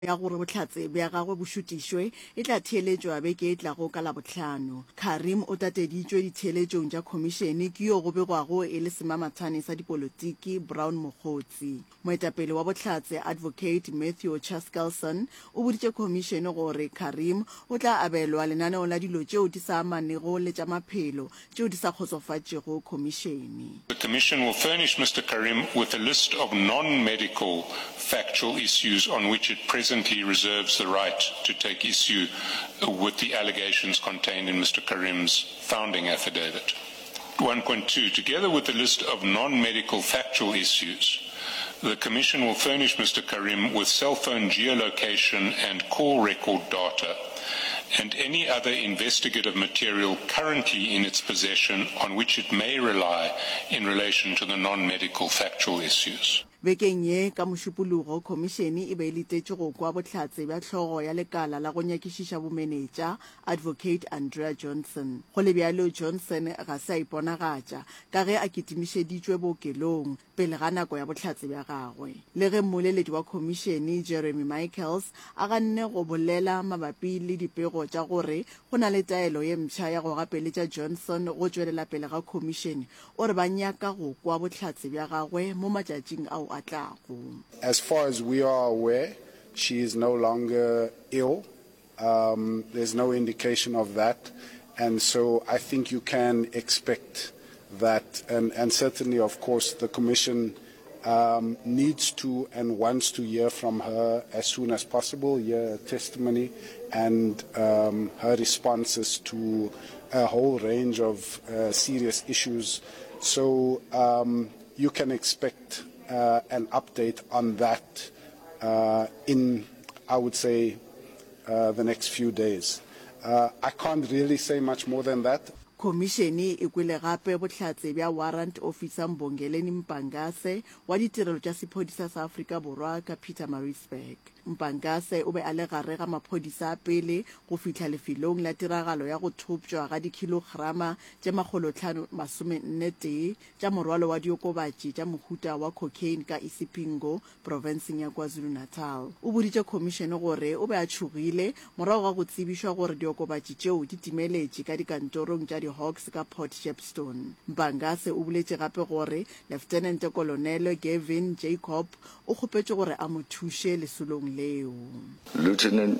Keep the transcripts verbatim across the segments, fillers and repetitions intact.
ya gore bohlatse bja gagwe bo šutišwe e tla theeletšwa beke e tlago ka Labohlano. Carrim o tateditšwe ditheeletšong tša khomišene ke yo go begwago e le semamathane sa dipolotiki Brown Mogotsi. Moetapele wa bohlatse Advocate Matthew Chaskalson o boditše khomišene gore Carrim o tla abelwa lenaneo la dilo tšeo di sa amanego le tša maphelo tšeo di sa kgotsofatšego khomišene. The commission will furnish Mister Carrim with a list of non-medical factual issues on which it presently reserves the right to take issue with the allegations contained in Mister Carrim's founding affidavit. one point two Together with the list of non-medical factual issues, the commission will furnish Mister Carrim with cell phone geolocation and call record data and any other investigative material currently in its possession on which it may rely in relation to the non-medical factual issues. Bekeng ye ka Mošupologo, khomišene e be e letetše go kwa bohlatse bja hlogo ya lekala la go nyakišiša bomenetša, Advocate Andrea Johnson. Go le bjalo, Johnson ga se a iponagatša, ka ge a kitimišeditšwe bookelong pele ga nako ya bohlatse bja gagwe. Le ge mmoleledi wa khomišene, Jeremy Michaels, a ganne go bolela mabapi le dipego tša gore go na le taelo ye mpsha ya go gapeletša Johnson go tšwelela pele ga khomišene, o re ba nyaka go kwa bohlatse bja gagwe mo matšatšing ao a tlago. As far as we are aware, she is no longer ill. Um, there's no indication of that. And so I think you can expect that, and, and certainly, of course, the Commission um, needs to and wants to hear from her as soon as possible, hear her testimony and um, her responses to a whole range of uh, serious issues. So um, you can expect uh, an update on that uh, in, I would say, uh, the next few days. Uh, I can't really say much more than that. Khomišene e kwele gape bohlatse bja Warrant Officer Mbongeleni Mpangase wa Ditirelo tša Sephodisa sa Afrika Borwa ka Pietermaritzburg. Mpangase o be a le gare ga maphodisa a pele go fihla lefelong la tiragalo ya go thopšwa ga dikhilograma tše makgolotlhano masomenne tee tša morwalo wa diokobatši tša mohuta wa cocaine ka Isipingo, profenseng ya KwaZulu-Natal. O boditše khomišene gore o be a tšhogile morago ga go tsebišwa gore diokobatši tšeo di timeletše ka dikantorong tša di-Hawks ka Port Shepstone. Mpangase o boletše gape gore Leftenente Kolonele Gavin Jacob o kgopetše gore a mo thuše lesolong leo. Lieutenant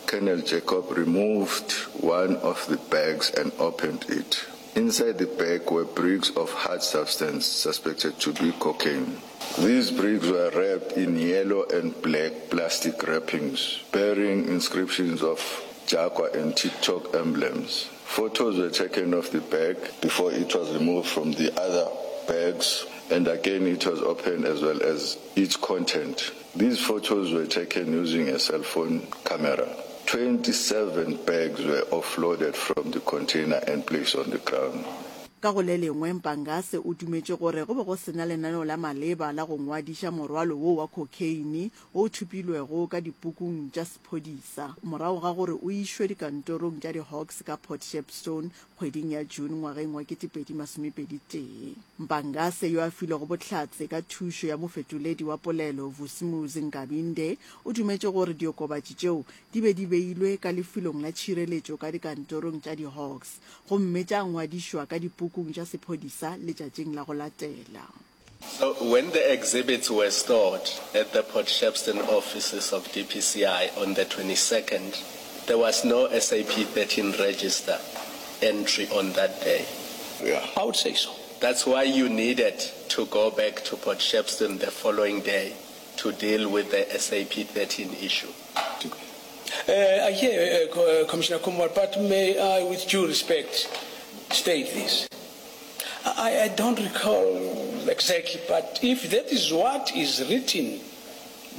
Colonel Jacob removed one of the bags and opened it. Inside the bag were bricks of hard substance suspected to be cocaine. These bricks were wrapped in yellow and black plastic wrappings bearing inscriptions of Jaguar and TikTok emblems. Photos were taken of the bag before it was removed from the other bags and again it was opened as well as its content. These photos were taken using a cell phone camera. twenty-seven bags were offloaded from the container and placed on the ground. Ka go le lengwe, Mpangase o dumetše gore go be go se na lenaneo la maleba la go ngwadiša morwalo wo wa khokheine wo o thopilwego ka dipukung tša sephodisa morago ga gore o išwe dikantorong tša di-Hawks ka Port Shepstone kgweding ya June ngwageng wa kete pedi masomepedi tee. Mpangase, yo a filego bohlatse ka thušo ya mofetoledi wa polelo Vusimuzi Nkabinde, o dumetše gore diokobatši tšeo di be di beilwe ka lefelong la tšhireletšo ka dikantorong tša di-Hawks gomme tša ngwadišwa ka dipukung tša sephodisa letšatšing la go latela. So when the exhibits were stored at the Port Shepstone offices of D P C I on the twenty-second, there was no S A P thirteen register entry on that day. Yeah. I would say so. That's why you needed to go back to Port Shepstone the following day to deal with the S A P thirteen issue. Uh, I hear, uh, uh, Commissioner Kumar, but may I, with due respect, state this. I, I don't recall exactly, but if that is what is written,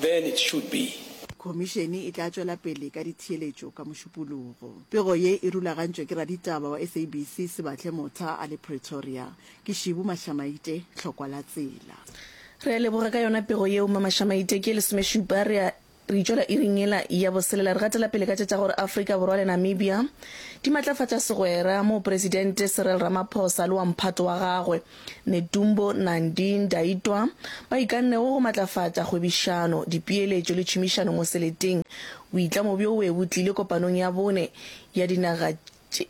then it should be. Khomišene e tla tšwela pele ka ditheeletšo ka Mošupologo. Pego ye e rulagantšwe ke raditaba wa S A B C Sebatle Motha a le Pretoria. Ke Šibu Mashamaite, Hlokwa la Tsela. Re a leboga ka yona pego yeo, Mma Mashamaite. Ke lesomešupa, re a. Re itšwela iring yela ya boselela re gatela pele ka tše tša gore Afrika Borwa le Namibia di matlafatša segwera moo Presidente Cyril Ramaphosa le wa mphato wa gagwe Netumbo Nandi-Ndaitwah ba ikannego go matlafatša kgwebišano, dipeeletšo le tšhomišano mo seleteng. Boitlamo bjo bo be bo tlile kopanong ya bone ya dinaga tše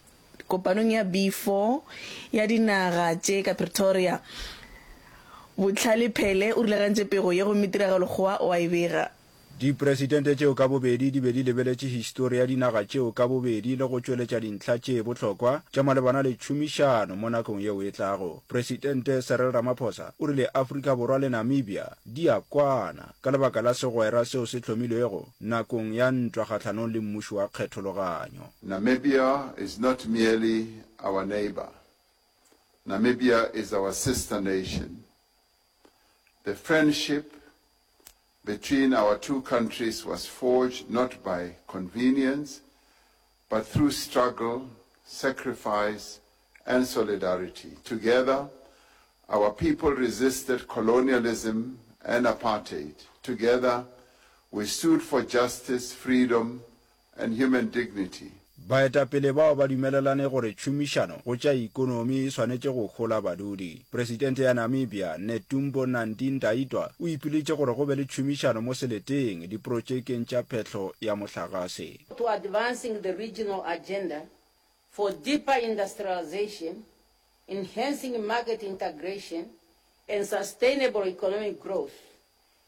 kopanong ya B four ya dinaga tše ka Pretoria. Bohlale Phele o rulagantše pego ye gomme Tiragalo Kgowa o a e bega. Dipresidente tšeo ka bobedi di be di lebeletše histori ya dinaga tšeo ka bobedi le go tšweletša dintlha tše bohlokwa tša malebana le tšhomišano mo nakong yeo e tlago. Presidente Cyril Ramaphosa o rile Afrika Borwa le Namibia di a kwana ka lebaka la segwera seo se hlomilwego nakong ya ntwa kgahlanong le mmušo wa kgethologanyo. Namibia is not merely our neighbour. Namibia is our sister nation. The friendship between our two countries was forged not by convenience, but through struggle, sacrifice, and solidarity. Together, our people resisted colonialism and apartheid. Together, we stood for justice, freedom, and human dignity. Baetapele bao ba dumelelane gore tšhomišano go tša ikonomi e swanetše go hola badudi. Presidente ya Namibia, Netumbo Nandi-Ndaitwah o ipileditše gore go be le tšhomišano mo seleteng diprotšekeng tša phehlo ya mohlagase. To advancing the regional agenda for deeper industrialization, enhancing market integration and sustainable economic growth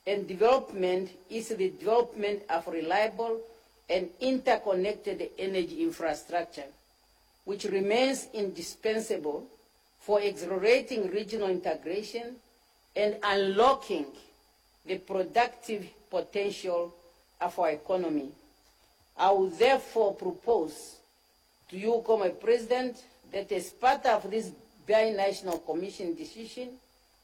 and development is the development of reliable and interconnected energy infrastructure, which remains indispensable for accelerating regional integration and unlocking the productive potential of our economy. I will therefore propose to you, Comrade President, that as part of this binational commission decision,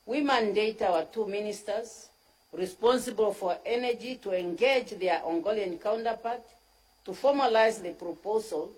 we mandate our two ministers responsible for energy to engage their Angolan counterpart to formalize the proposal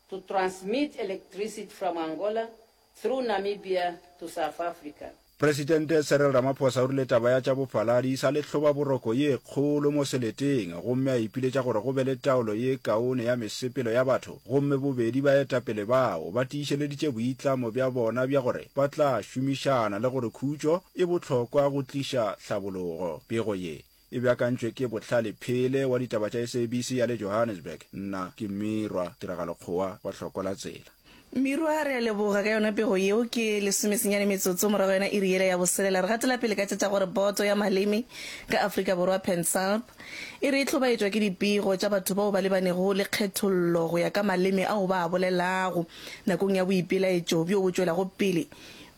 to transmit electricity from Angola through Namibia to South Africa. Presidente Cyril Ramaphosa o rile taba ya tša bofaladi e sa le hlobaboroko ye kgolo mo seleteng gomme a ipiletša gore go be le taolo ye kaone ya mesepelo ya batho gomme bobedi baetapele bao ba tiišeleditše boitlamo bja bona bja gore ba tla šomišana le gore khutšo e bohlokwa go tliša hlabologo. Pego ye e beakantšwe ke Bohlale Phele wa ditaba tša S A B C ya le Johannesburg. Nna ke Mirwa Tiragalo Kgowa wa Hloko la Tsela. Mirwa, re a leboga ka yona pego yeo. Ke lesomesenyane metsotso morago yona iri yela ya boselela. Re gatela pele ka tše tša gore Boto ya Maleme ka Afrika Borwa, PanSALB, e re e hlobaetšwa ke dipego tša batho bao ba lebanego le kgethollo go ya ka maleme ao ba a bolelago nakong ya boipelaetšo bjo bo tšwelago pele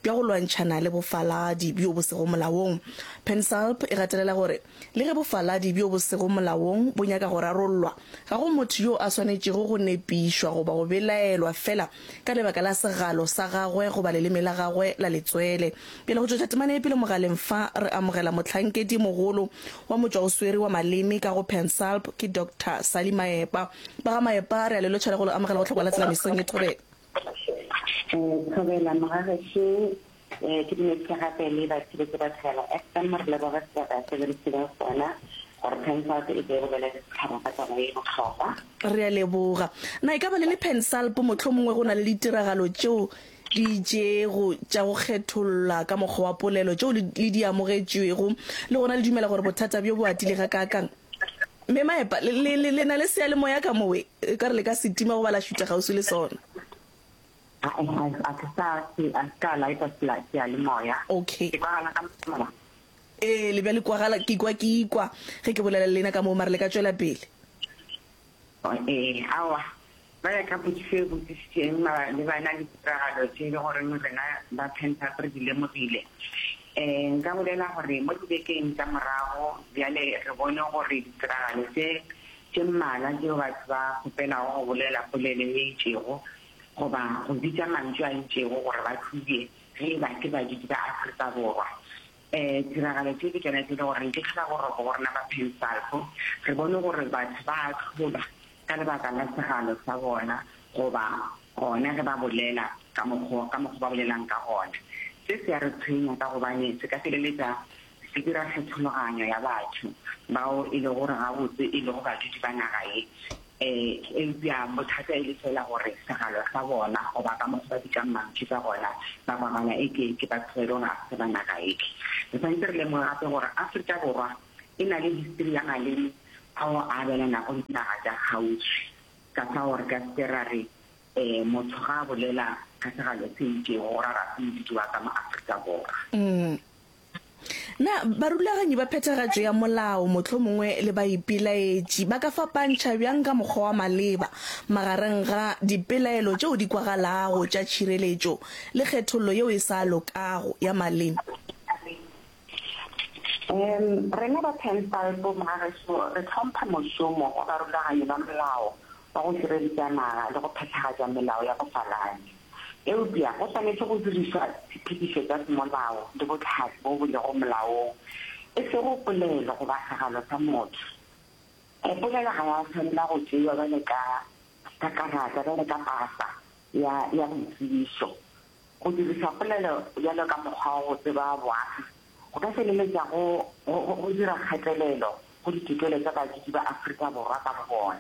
bja go lwantšhana le bofaladi bjo bo sego molaong. PanSALB e gatelela gore le ge bofaladi bjo bo sego molaong bo nyaka go rarollwa, ga go motho yo a swanetšego go nepišwa goba go belaelwa feela ka lebaka la segalo sa gagwe goba leleme la gagwe la letswele. Bjale go tšwetša temana ye pele mogaleng fa re amogela mohlankedi mogolo wa motšwaoswere wa maleme ka go PanSALB ke Doctor Sally Maepa. Ba ga Maepa, re a le lotšha le go le amogela go Hlokwa la Tsela mesong ye thobela. Thobela mogagešo, ke dumedise gape le batheeletši ba Thobela F M, re leboge sebaka se le re fileng sona gore PanSALB e tle e bolele le setšhaba ka taba ye bohlokwa. Re a leboga. Na e ka ba le le PanSALB mohlomongwe go na le ditiragalo tšeo di itšego tša go kgetholla ka mokgwa wa polelo tšeo le di amogetšwego, le gona le dumela gore bothata bjo bo atile gakaakang? Mme Maepa, le, le, le, le na le seyalemoya ka mowe, e ka re le ka se tima goba la šutha kgauswi le sona. A, a, a ke sa, ke, a se ka laeta seyalemoya. Okay. Ke kwagala ka mola? Ee, le bjale kwagala, ke kwa ke ikwa ge ke bolela le lena ka moo, mara le ka tšwela pele. Ee, aowa. Ba ya ka potšišo e botšišitšeng malebana le ditiragalo tše e le goreng rena ba PanSALB re di lemogile. Um nka bolela gore mo dibekeng tša morago bjale re bone gore ditiragalo tše tše mmalwa tšeo batho ba kgopelago go bolela polelo e itšego goba go bitša mantšu a itšego gore ba tsebje ge e ba ke badudi ba Afrika Borwa. Um tiragalo tše ke tšona tše e le goreng ke tlhobaboroko go rena ba PanSALB. Re bone gore batho ba ahlolwa ka lebaka la segalo sa bona goba gona ge ba bolela ka mokgwa ka mokgwa ba bolelang ka gona. Se se a re tshwenya ka gobane se ka feleletša e dira kgethologanyo ya batho bao e lego gore gabotse e lego badudi ba naga ye, um eupša bothata e le fela gore segalo sa bona goba ka mokgwa ba bitšang mantšu ka gona ba kwagala eke ke batho ba e lego gore ga se ba naga ye. Re swanetše re lemoge gape gore Afrika Borwa e na le histori ya maleme ao a abelanago le dinaga tša kgauswi, ka fao re ka se ke ra re um motho ga a bolela ka segalo se itšego go ra ga se modudi wa ka mo Afrika Borwa. Na barulaganyi ba phethagatšo ya molao mohlomongwe le baipelaetši ba ka fapantšha bjang ka mokgwa wa maleba magareng ga dipelaelo tšeo di kwagalago tša tšhireletšo le kgethollo yeo e sa lokago ya maleme? Um Rena ba PanSALB mogageso re hlompha mošomo wa barulaganyi ba molao wa go šireletša naga le go phethagatša melao ya bofaladi. Eupša go swanetše go dirišwa ditshepedišo tša semolao le bohlatse bo bo lego molaong, e sego polelo goba segalo sa motho. Polelo ga ya swanela go tšeiwa bjalo ka ka karata, bjalo ka pasa ya ya boitsebišo. Go diriša polelo bjalo ka mokgwa wa go tseba boagi go ka feleletša go go go dira kgatelelo go ditokelo tša badudi ba Afrika Borwa ka bobona.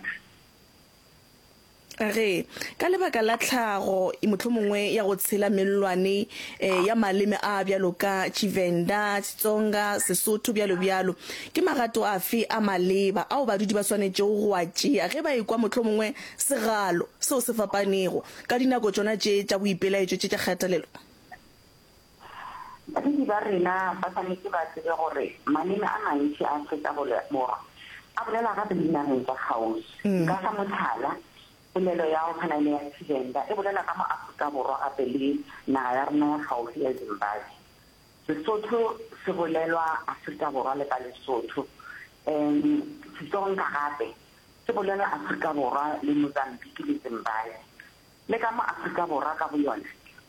Ge, ka lebaka la tlhago mohlomongwe ya go tshela mellwane ya maleme a bjalo ka Tshivenda, Xitsonga, Sesotho, bjalo bjalo, ke magato afe a maleba ao badudi ba swanetšego go a tšea ge ba ekwa mohlomongwe segalo seo se fapanego ka dinako tšona tše tša boipelaetšo tše tša kgatelelo? Badudi ba rena ba swanetše ba tsebe gore maleme a mantši a Afrika Borwa a bolelwa gape le dinageng tša kgauswi. Nka fa mohlala, polelo ya go tshwana le ya Tshivenda e bolelwa ka mo Afrika Borwa gape le naga ya rena ya kgauswi ya Zimbabwe. Sesotho se bolelwa Afrika Borwa le ka Lesotho. Um Xitsonga gape se bolelwa Afrika Borwa le Mozambique le Zimbabwe. Le ka mo Afrika Borwa ka boyona,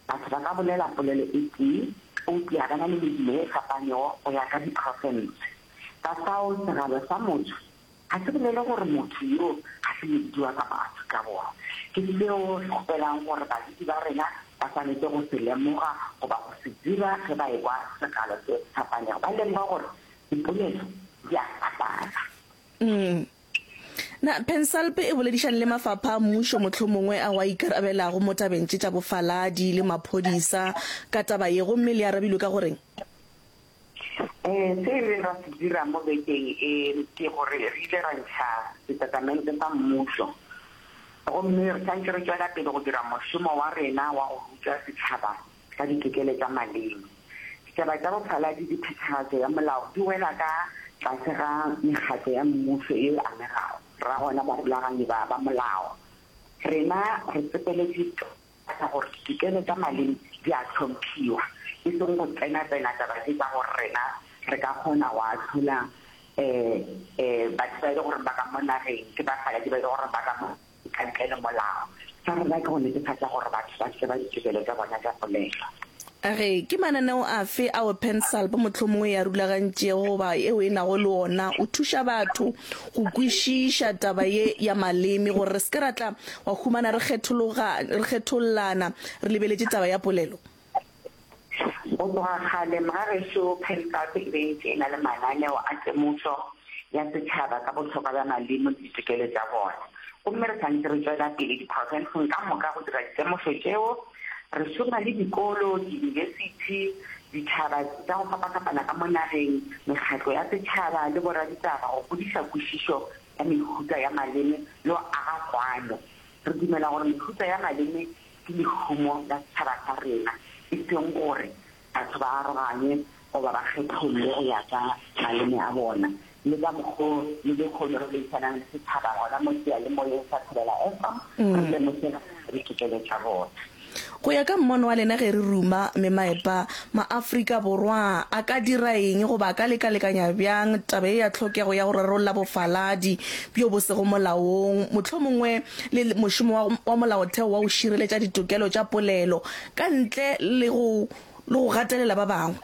batho ba ka bolela polelo e tee eupša ba na le medumo e fapanego go ya ka diprofense. Ka fao segalo sa motho ga se bolele gore motho yo ga se modudi wa ka mo Afrika Borwa. Ke seo re kgopelang gore badudi ba rena ba swanetše go se lemoga goba go se dira ge ba ekwa segalo se fapanego, ba lemoga gore dipolelo di a fapana. Mm. Na PanSALB e boledišane le mafapha a mmušo mohlomongwe ao a ikarabelago mo tabeng tše tša bofaladi le maphodisa ka taba ye gomme le arabilwe ka goreng? Um Se re ra se dira mo bekeng e ke gore re ile ra ntšha setatamente sa mmušo gomme re santše re tšwela pele go dira mošomo wa rena wa go ruta setšhaba ka ditokelo tša maleme. Ditaba tša bofaladi le phethagatšo ya molao di wela ka tlase ga mekgatlo ya mmušo ye e amegago, ra gona barulaganyi ba ba molao. Rena re tsepeletše ka gore ditokelo tša maleme di a hlomphiwa, e seng go tsena-tsena taba tše tša gore rena re ka kgona go ahlola um um batho ba e le gore ba ka mo nageng ke bafaladi ba e le gore ba ka mo ka ntle le molao. Sa rena ke go netefatša gore batho ba tseba ditokelo tša bona tša polelo. A re, Ke mananeo afe ao PanSALB mohlomongwe e a rulagantšego goba yeo e nago le ona o thuša batho go kwešiša taba ye ya maleme gore re se ke ra tla wa humana re kgethologa, re kgethollana re lebeletše taba ya polelo? Go tloga kgale mogagešo PanSALB e be e ntše e na le mananeo a temošo ya setšhaba ka bohlokwa bja maleme le ditokelo tša bona. Gomme re sa ntše re tšwela pele diprofenseng ka moka go dira ditemošo tšeo. Re šoma le dikolo, diyunibesithi, ditšhaba tša go fapafapana ka mo nageng, mekgatlo ya setšhaba le boraditaba go godiša kwešišo ya mehuta ya maleme le go aga kwano. Re dumela gore mehuta ya maleme ke lehumo la setšhaba sa rena, e seng gore batho ba aroganywe goba ba kgethollwe go ya ka maleme a bona. Le ka mokgo le lehono re boledišanang le setšhaba gona mo seyalemoyeng sa Thobela F M, re lemoše ditokelo tša bona. Go ya ka mmono wa lena ge re ruma memaepa, maAfrika Borwa a ka dira eng goba a ka lekalekanya bjang taba ye ya tlhokego ya go rarolla bofaladi bjo bo sego molaong, mohlomongwe le mošomo wa, wa molaotheo wa go šireletša ditokelo tša polelo ka ntle le go, le go gatelela ba bangwe?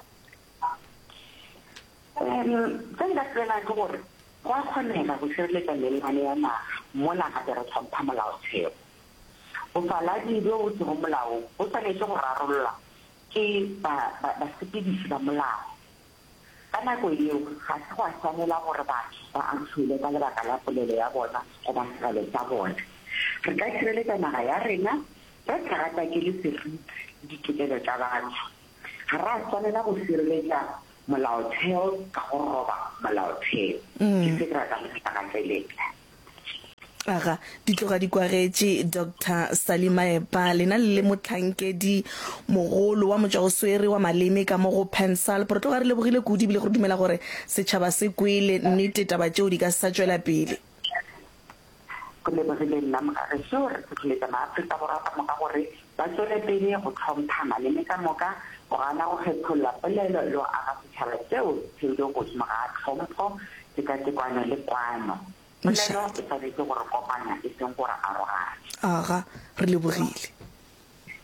Um Se nka se bolelang ke gore go a kgonega go šireletša mellwane ya naga mola gape re hlompha molaotheo. Bofaladi bjo bo sego molaong bo swanetše go rarollwa ke ba, ba, basepediši ba molao. Ka nako yeo, ga se gwa swanela gore batho ba ahlolwe ka lebaka la polelo ya bona goba segalo sa bona. Re ka šireletša naga ya rena re sa gatakele seriti le ditokelo tša batho. Ga ra swanela go šireletša molaotheo ka go roba molaotheo. Ke se ke ratang go se gatelela. Aga, di tloga di kwagetše Doctor Sally Maepa, lena le le mohlankedi mogolo wa motšwaoswere wa maleme ka mo go PanSALB. Re tloga re lebogile kudu ebile re dumela gore setšhaba se kwele nnete taba tšeo di ka se sa tšwela pele. Go lebogile nna mogagešo. Re hlohleletša maAfrika Borwa ka moka gore ba tšwele pele go hlompha maleme ka moka, go gana go kgetholla polelo le go aga setšhaba seo se theilwego godimo ga tlhompho, tekatekano le kwano. Polelo e swanetše go re kopanya e seng go re aroganya. Aga, re lebogile.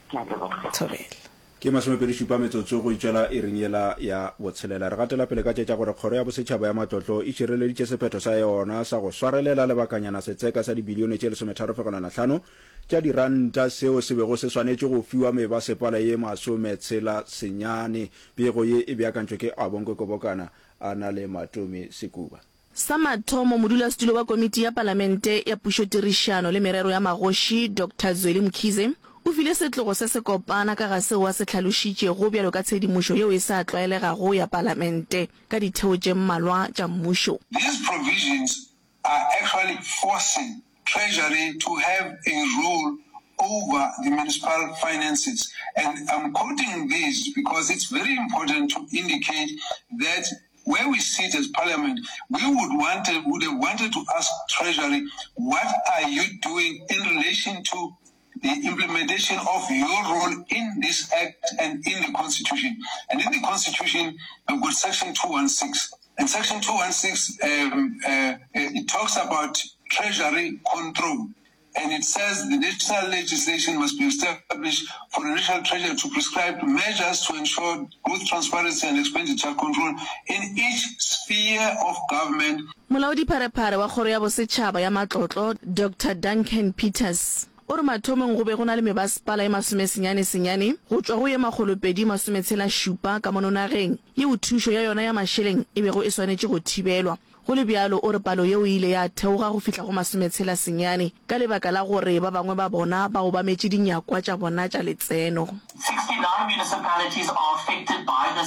Ke a leboga. Thobela. Ke masomepedi šupa metsotso go itšwela iring yela ya botshelela. Re gatela pele ka tše tša gore Kgoro ya Bosetšhaba ya Matlotlo e šireleditše sephetho sa yona sa go swarelela lebakanyana setseka sa dibilione tše lesometharo fegelwana hlano tša diranta seo se bego se swanetše go fiwa mebasepala ye masometshela senyane. Pego ye e beakantšwe ke Abongwe Kobokana a na le Matome Sekuba. Sa mathomo, modulasetulo wa Komiti ya Palamente ya Pušotirišano le Merero ya Magoši, Doctor Zweli Mkhize, o file setlogo se sekopana ka ga seo a se hlalošitšego bjalo ka tshedimošo yeo e sa tlwaelegago ya Palamente ka ditheo tše mmalwa tša mmušo. These provisions are actually forcing Treasury to have a role over the municipal finances and I'm quoting these because it's very important to indicate that where we sit as parliament, we would wanted, would have wanted to ask Treasury, what are you doing in relation to the implementation of your role in this act and in the Constitution? And in the Constitution, we've got Section two one six. And Section two one six, um, uh, it talks about Treasury control. And it says the national legislation must be established for the National Treasury to prescribe measures to ensure both transparency and expenditure control in each sphere of government. Molaodipharephare wa Kgoro ya Bosetšhaba ya Matlotlo, Doctor Duncan Peters, o re mathomong go be go na le mebasepala ye masomesenyane senyane go tšwa go ye makgolopedi masometshela šupa ka mono nageng yeo thušo ya yona ya mašeleng e bego e swanetše go thibelwa. Go le bjalo, o re palo yeo e ile ya theoga go fihla go masometshela senyane ka lebaka la gore ba bangwe ba bona ba obametše dinyakwa tša bona tša letseno. Sixty-nine municipalities are affected by the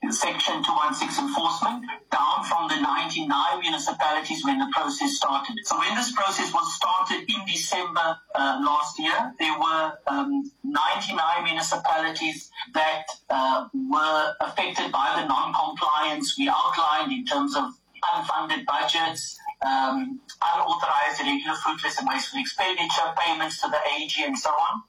Section two one six enforcement, down from the ninety-nine municipalities when the process started. So when this process was started in December, uh, last year, there were, um, ninety-nine municipalities that, uh, were affected by the non-compliance we outlined in terms of unfunded budgets, um, unauthorized irregular fruitless and wasteful expenditure, payments to the A G and so on.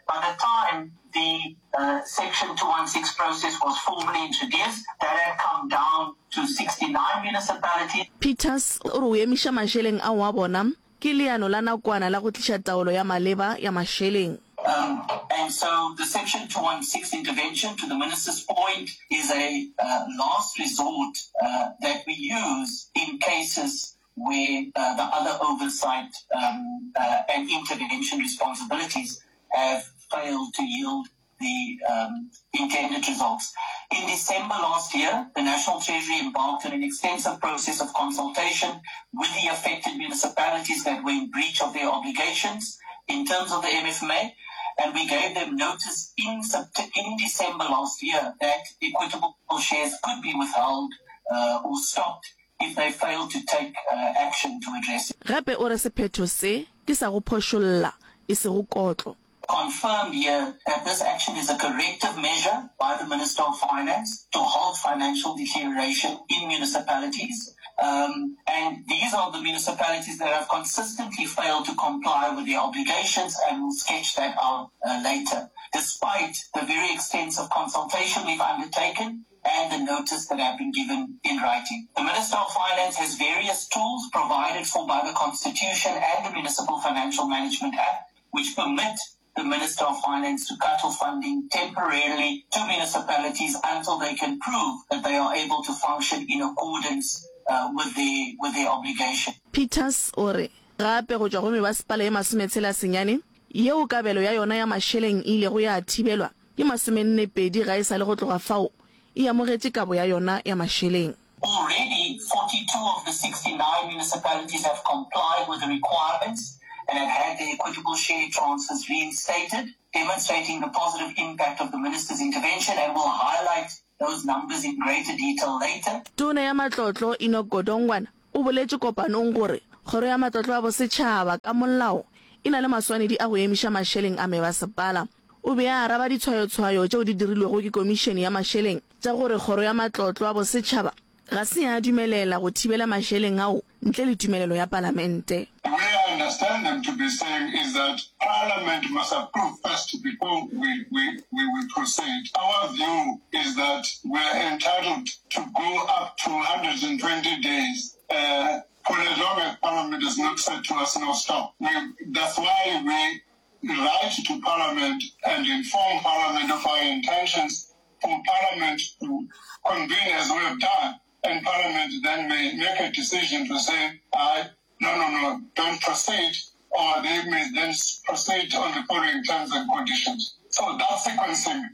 By the time the, uh, Section two one six process was formally introduced, that had come down to sixty-nine municipalities. Peters o re o emiša mašeleng ao a bona ke leano la nakwana la go tliša taolo ya maleba ya mašeleng. Um, and so the Section two one six intervention, to the minister's point, is a, uh, last resort, uh, that we use in cases where, uh, the other oversight, um, uh, and intervention responsibilities have failed to yield the, um, intended results. In December last year, the National Treasury embarked on an extensive process of consultation with the affected municipalities that were in breach of their obligations in terms of the M F M A, and we gave them notice in, Sept-, in December last year that equitable shares could be withheld, uh, or stopped if they failed to take, uh, action to address it. Gape o re sephetho se ke sa go phošolla, e sego kotlo. Confirmed here that this action is a corrective measure by the Minister of Finance to halt financial deterioration in municipalities. Um, and these are the municipalities that have consistently failed to comply with their obligations, and we'll sketch that out, uh, later, despite the very extensive consultation we've undertaken and the notice that have been given in writing. The Minister of Finance has various tools provided for by the Constitution and the Municipal Financial Management Act, which permit the Minister of Finance to cut off funding temporarily to municipalities until they can prove that they are able to function in accordance, uh, with their, with their obligation. Peters o re gape go tšwa go mebasepala ye masometshela senyane yeo kabelo ya yona ya mašeleng e ilego ya thibelwa ke masomenne pedi ga e sa le go tloga fao e amogetše kabo ya yona ya mašeleng. Already, forty-two of the sixty-nine municipalities have complied with the requirements and have had their equitable share transfers reinstated, demonstrating the positive impact of the minister's intervention, and we'll highlight those numbers in greater detail later. Tona ya Matlotlo Enoch Godongwana o boletše kopanong gore Kgoro ya Matlotlo a Bosetšhaba ka molao e na le maswanedi a go emiša mašeleng a mebasepala. O be a araba ditshwayotshwayo tšeo di dirilwego ke Komišene ya Mašeleng tša gore Kgoro ya Matlotlo a Bosetšhaba ga se ya dumelela go thibela mašeleng ao ntle le tumelelo ya Palamente. The way I understand them to be saying is that Parliament must approve first before we, we, we, we proceed. Our view is that we are entitled to go up to hundred and twenty days, uh, for as long as Parliament has not said to us, no, stop. We, that's why we write to Parliament and inform Parliament of our intentions for Parliament to convene as we have done, and Parliament then may make a decision to say, I, no, no, no, don't proceed, or they may then proceed on the following terms and conditions. So that sequencing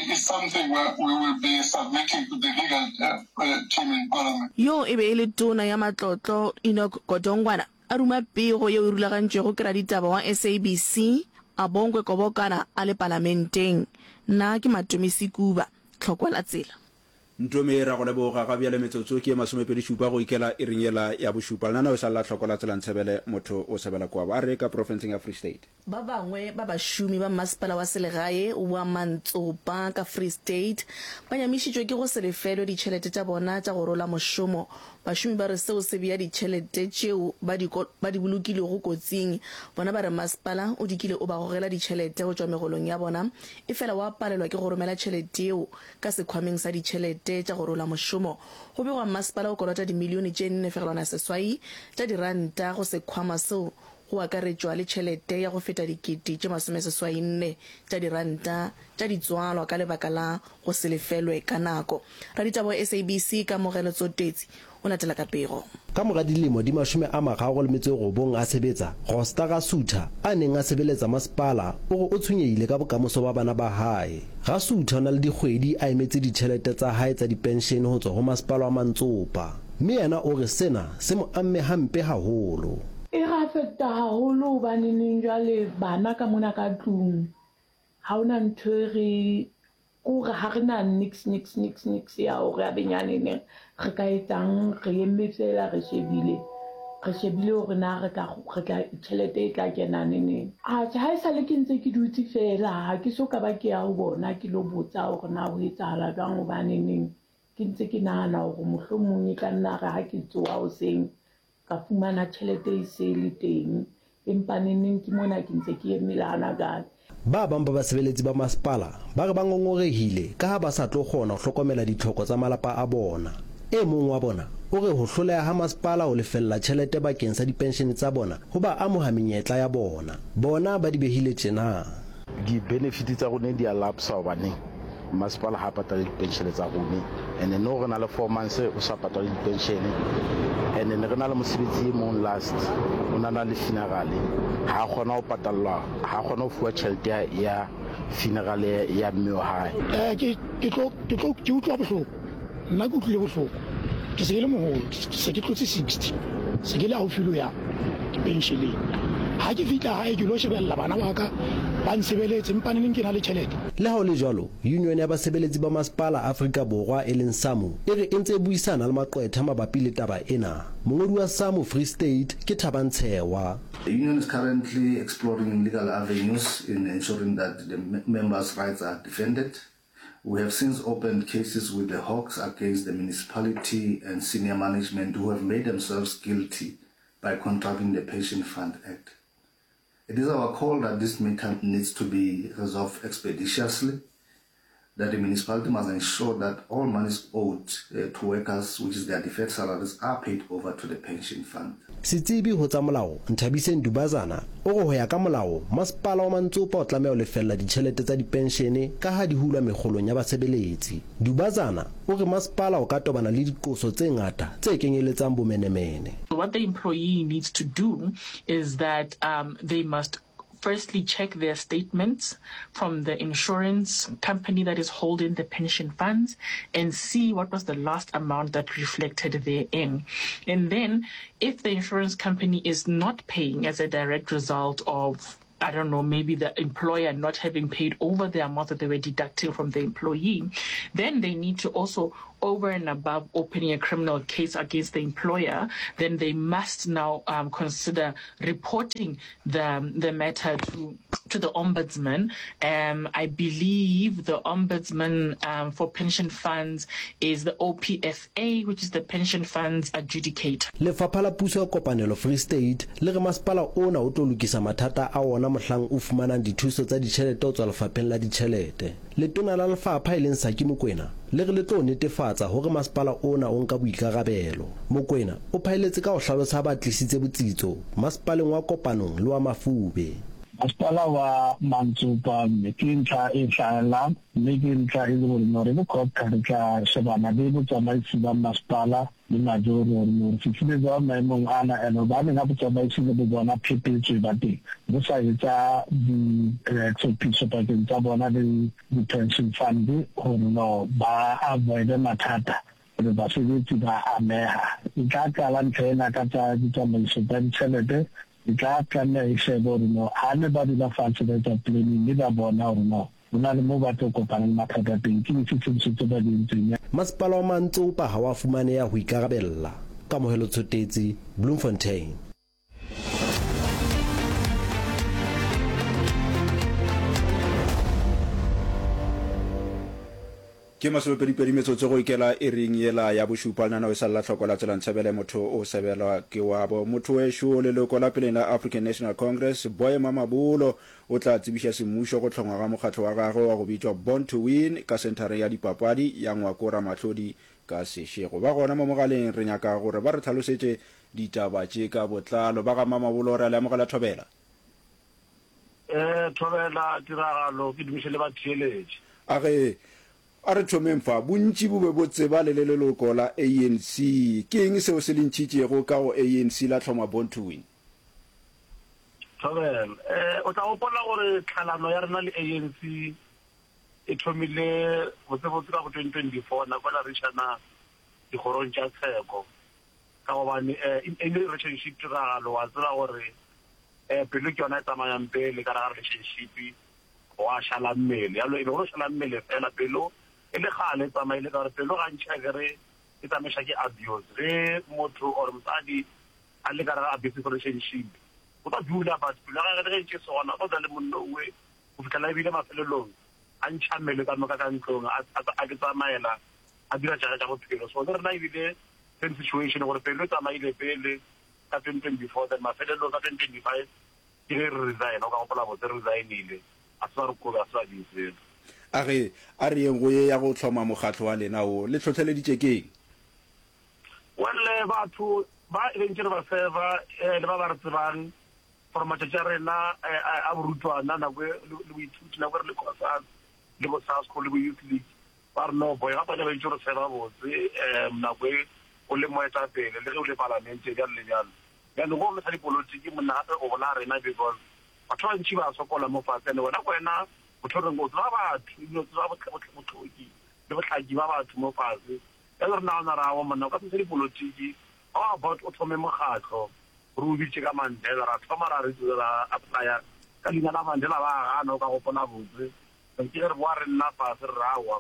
is something where we will be submitting to the legal, uh, uh, team in Parliament. Yo e be e le Tona ya Matlotlo Enoch Godongwana a ruma pego yeo e rulagantšwego ke raditaba wa S A B C Abongwe Kobokana a le palamenteng. Nna ke Matome Sekuba, Tlhokwa la Tsela. Ntome ra go leboga ga bjale metsotso ke ye masomepedi šupa go ikela iring yela ya bošupa. Lenaneo e sa le la Tlhokwa la Tsela Ntshebele motho o sebela kwabo. A re ka profenseng ya Free State. Ba bangwe ba bašomi ba mmasepala wa selegae wa Mantsopa ka Free State ba nyamišitšwe ke go se lefelwe ditšhelete tša bona tša go rola mošomo. Bašomi ba re seo se bea ditšhelete tšeo ba di ba di bolokilego kotsing. Bona ba re masepala o dikile o ba gogela ditšhelete go tšwa megolong ya bona, efela wa palelwa ke go romela tšhelete yeo ka sekhwameng sa ditšhelete tša go rola mošomo. Go begwa masepala o kolota dimilione tše nne fegelwana seswai tša diranta go sekhwama seo, go akaretšwa le tšhelete ya go feta dikete tše masomeseswai nne tša diranta tša ditswalwa ka lebaka la go se lefelwe ka nako. Raditaba wa S A B C Kamogelo Tsotetsi o latela ka pego. Ka mora dilemo di mashome a mararo le metso e robong a sebetsa, Rosta Rasutha, a neng a sebeletsa masepala, o re o tshwenyehile ka bokamoso ba bana ba hae. Rasutha o na le dikgwedi a emetse ditjhelete tsa hae tsa dipenshene ho tswa ho masepala wa Mantsopa, mme yena o re sena se mo amme hampe haholo. E re affecta haholo hobane neng jwale bana ka mona ka tlung ha hona ntho e re kore ha re na nix, nix, nix, nix ya hore a benyane neng re ka etsang, re eme fela re shebile, re shebile hore na re tla, re tla, tjhelete e tla kena neneng. Atjhe, ha esale ke ntse ke dutse fela, ha ke so ka ba ke ya ho bona ke lo botsa hore na ho etsahala jwang, hobane neng ke ntse ke nahana hore mohlomong e tla nna re ha ke tsoha hoseng ka fumana tjhelete e se le teng, empa neneng ke mona ke ntse ke eme le hana jwale. Ba bang ba basebeletsi ba masepala ba re ba ngongorehile ka ha ba sa tlo kgona ho hlokomela ditlhoko tsa malapa a bona. E mong wa bona o re ho hloleha ha masepala ho lefella tjhelete bakeng sa dipenshene tsa bona ho ba amoha menyetla ya bona. Bona ba di behile tjena. Di-benefit tsa rona di a lapsa hobane masepala ha patale dipenshene tsa rona, and then no re na le four months o sa patale dipenshene, and then re na le mosebetsi e mong last o na na le funeral, ha kgona ho patallwa, ha kgona ho fuwa tjhelete ya, ya funeral ya mme wa hae. Eh, ke, ke tlo, ke tlo, ke utlwa bohloko. Nna ke utlwile bohloko. Ke se ke le moholo, ke se ke tlotse sixty. Se ke le haufi le ho ya pensioneng. Ha ke fihla hae ke lo shebella bana ba ka ba nsebeletse, empa neneng ke na le tjhelete. Le ha ho le jwalo, Union ya basebeletsi ba masepala Afrika Borwa e leng SAMU e re e ntse e buisana le maqwetha mabapi le taba ena. Mongodi wa SAMU Free State ke Thabang Tshewa. The union is currently exploring legal avenues in ensuring that the members' rights are defended. We have since opened cases with the Hawks against the municipality and senior management who have made themselves guilty by contravening the Pension Fund Act. It is our call that this matter needs to be resolved expeditiously, that the municipality must ensure that all monies owed, uh, to workers, which is their deferred salaries, are paid over to the pension fund. Setsebi ho tsa molao, Nthabiseng Dubazana, o re ho ya ka molao, masepala wa Mantsopa o tlameha ho lefella ditjhelete tsa dipenshene ka ha di hulwa mekgolong ya basebeletsi. Dubazana o re masepala o ka tobana le diqoso tse ngata tse kenyeletsang bomenemene. What the employee needs to do is that, um, they must firstly check their statements from the insurance company that is holding the pension funds and see what was the last amount that reflected therein. And then if the insurance company is not paying as a direct result of I don't know, maybe the employer not having paid over the amount that they were deducting from the employee, then they need to also, over and above opening a criminal case against the employer, then they must now um, consider reporting the, the matter to, to the ombudsman. Um, I believe the ombudsman um, for pension funds is the O P F A, which is the Pension Funds Adjudicator. Lefapha la Puso ya Kopanelo Free State le re masepala ona o tlo lokisa mathata a wona mohlang o fumanang dithuso tsa ditjhelete ho tswa lefapheng la ditjhelete. Letona la lefapha e leng Saki Mokoena le re le tlo netefatsa hore masepala ona o nka boikarabelo. Mokoena o phaeletse ka ho hlalosa ha ba tlisitse botsitso masepaleng wa Kopanong le wa Mafube. Masepala wa Mantsopa mme ke ntlha e hlahellang mme ke ntlha e le gore no re le COGTA re tla shebana le botsamaisi ba masepala le majoro gore no re fihlile jwang maemong ana and hobaneng ha botsamaisi le bo bona phephetso e ba teng bo sa etsa ditlhophiso pakeng tsa bona le di-pension fund gore no ba avoide mathata gore basebetsi ba ameha. E tla qala ntho ena ka tsa ditsamaiso tsa ditjhelete, e tla tlameha e shebe gore no ha ne ba dula fatshe ba etsa planning mme ba bona gore no ho na le moo ba tlo kopana le mathata teng, ke dife tshebediso tse ba di entseng. Masepala wa Mantsopa ha wa fumaneha ho ikarabella. Kamohelo Tshotetsi, Bloemfontein. Ke masomepedipedi metsotso go ikela iring yela ya bošupa lenaneo e sa lla hloko la tsela ntshebele motho o sebelwa ke wabo. Motho wešo leloko la peleng la African National Congress Boy Mamabolo o tla tsebiša semmušo go hlongwa ga mokgatlo wa gagwe wa go bitšwa Born to Win ka senthareng ya dipapadi ya Ngwako Ramahlodi ka Seshego. Ba gona mo mogaleng re nyaka gore ba re hlalosetše ditaba tše ka botlalo. Ba ga Mamabolo re a le amogela thobela. Eh thobela tiragalo ke dumiše le batheeletši. A ge a re thomeng fa, bontši bo be bo tseba le le leloko la A N C. Ke eng seo se le ntšhitšego ka go A N C la hloma Born to Win? Thobela, eh, o tla gopola gore tlhalano ya rena le A N C e thomile botsebotse ka bo twenty twenty-four nako la re išana dikgorong tša tsheko. Ka gobane, eh, in any relationship tiragalo wa tseba gore, eh, pelo ke yona e tsamayang pele ka gare ga relationship wa šala mmele. Jalo e be go šala mmele fela pelo e le kgale e tsamaile ka gore pelo gantši a kere e tsamaiša ke abuse. Ge motho or mosadi a le ka gare ga abusive relationship o tla dula but pelo ya gagwe le ge e ntše se gona o tla dula le monna owe go fihlela ebile mafelelong a ntšha mmele ka moka ka ntlong a, a, a ke tsamaela a dira tša tša bophelo. So le rena ebile same situation gore pelo e tsamaile pele ka twenty twenty-four then mafelelong ka twenty twenty-five ke ge re resign, o ka gopola botse re resignile a se ba re kobe a se ba di selo. A ge a re yeng go ye ya go hloma mokgatlo wa lena wo le hlohleleditše keng? Well, batho ba e bentše re ba serva eh, le ba ba re tsebang gore matšatši a rena eh, a borutwana nako e, le boithuti nako e re le COSAS le bo SASCO le bo Youth League ba re no boy gape le bentše re serva botse um nako e o le moetapele le ge o le palamente bjalo le bjalo. Bjalo go le sa dipolotiki monna gape o bolaya rena because batho ba bantši ba sokola mo fatshe and wena ko wena motho o reng o tseba batho ebile o tseba bohloki le bohlaki ba batho mo fatshe. Bjalo re nagana ra awa monna o ka se dipolotiki how about o thome mokgatlo re o bitše ka Mandela ra thoma ra re ra applya ka leina la Mandela ba gana o ka gopola botse ke ge re boa re nna fatshe re awa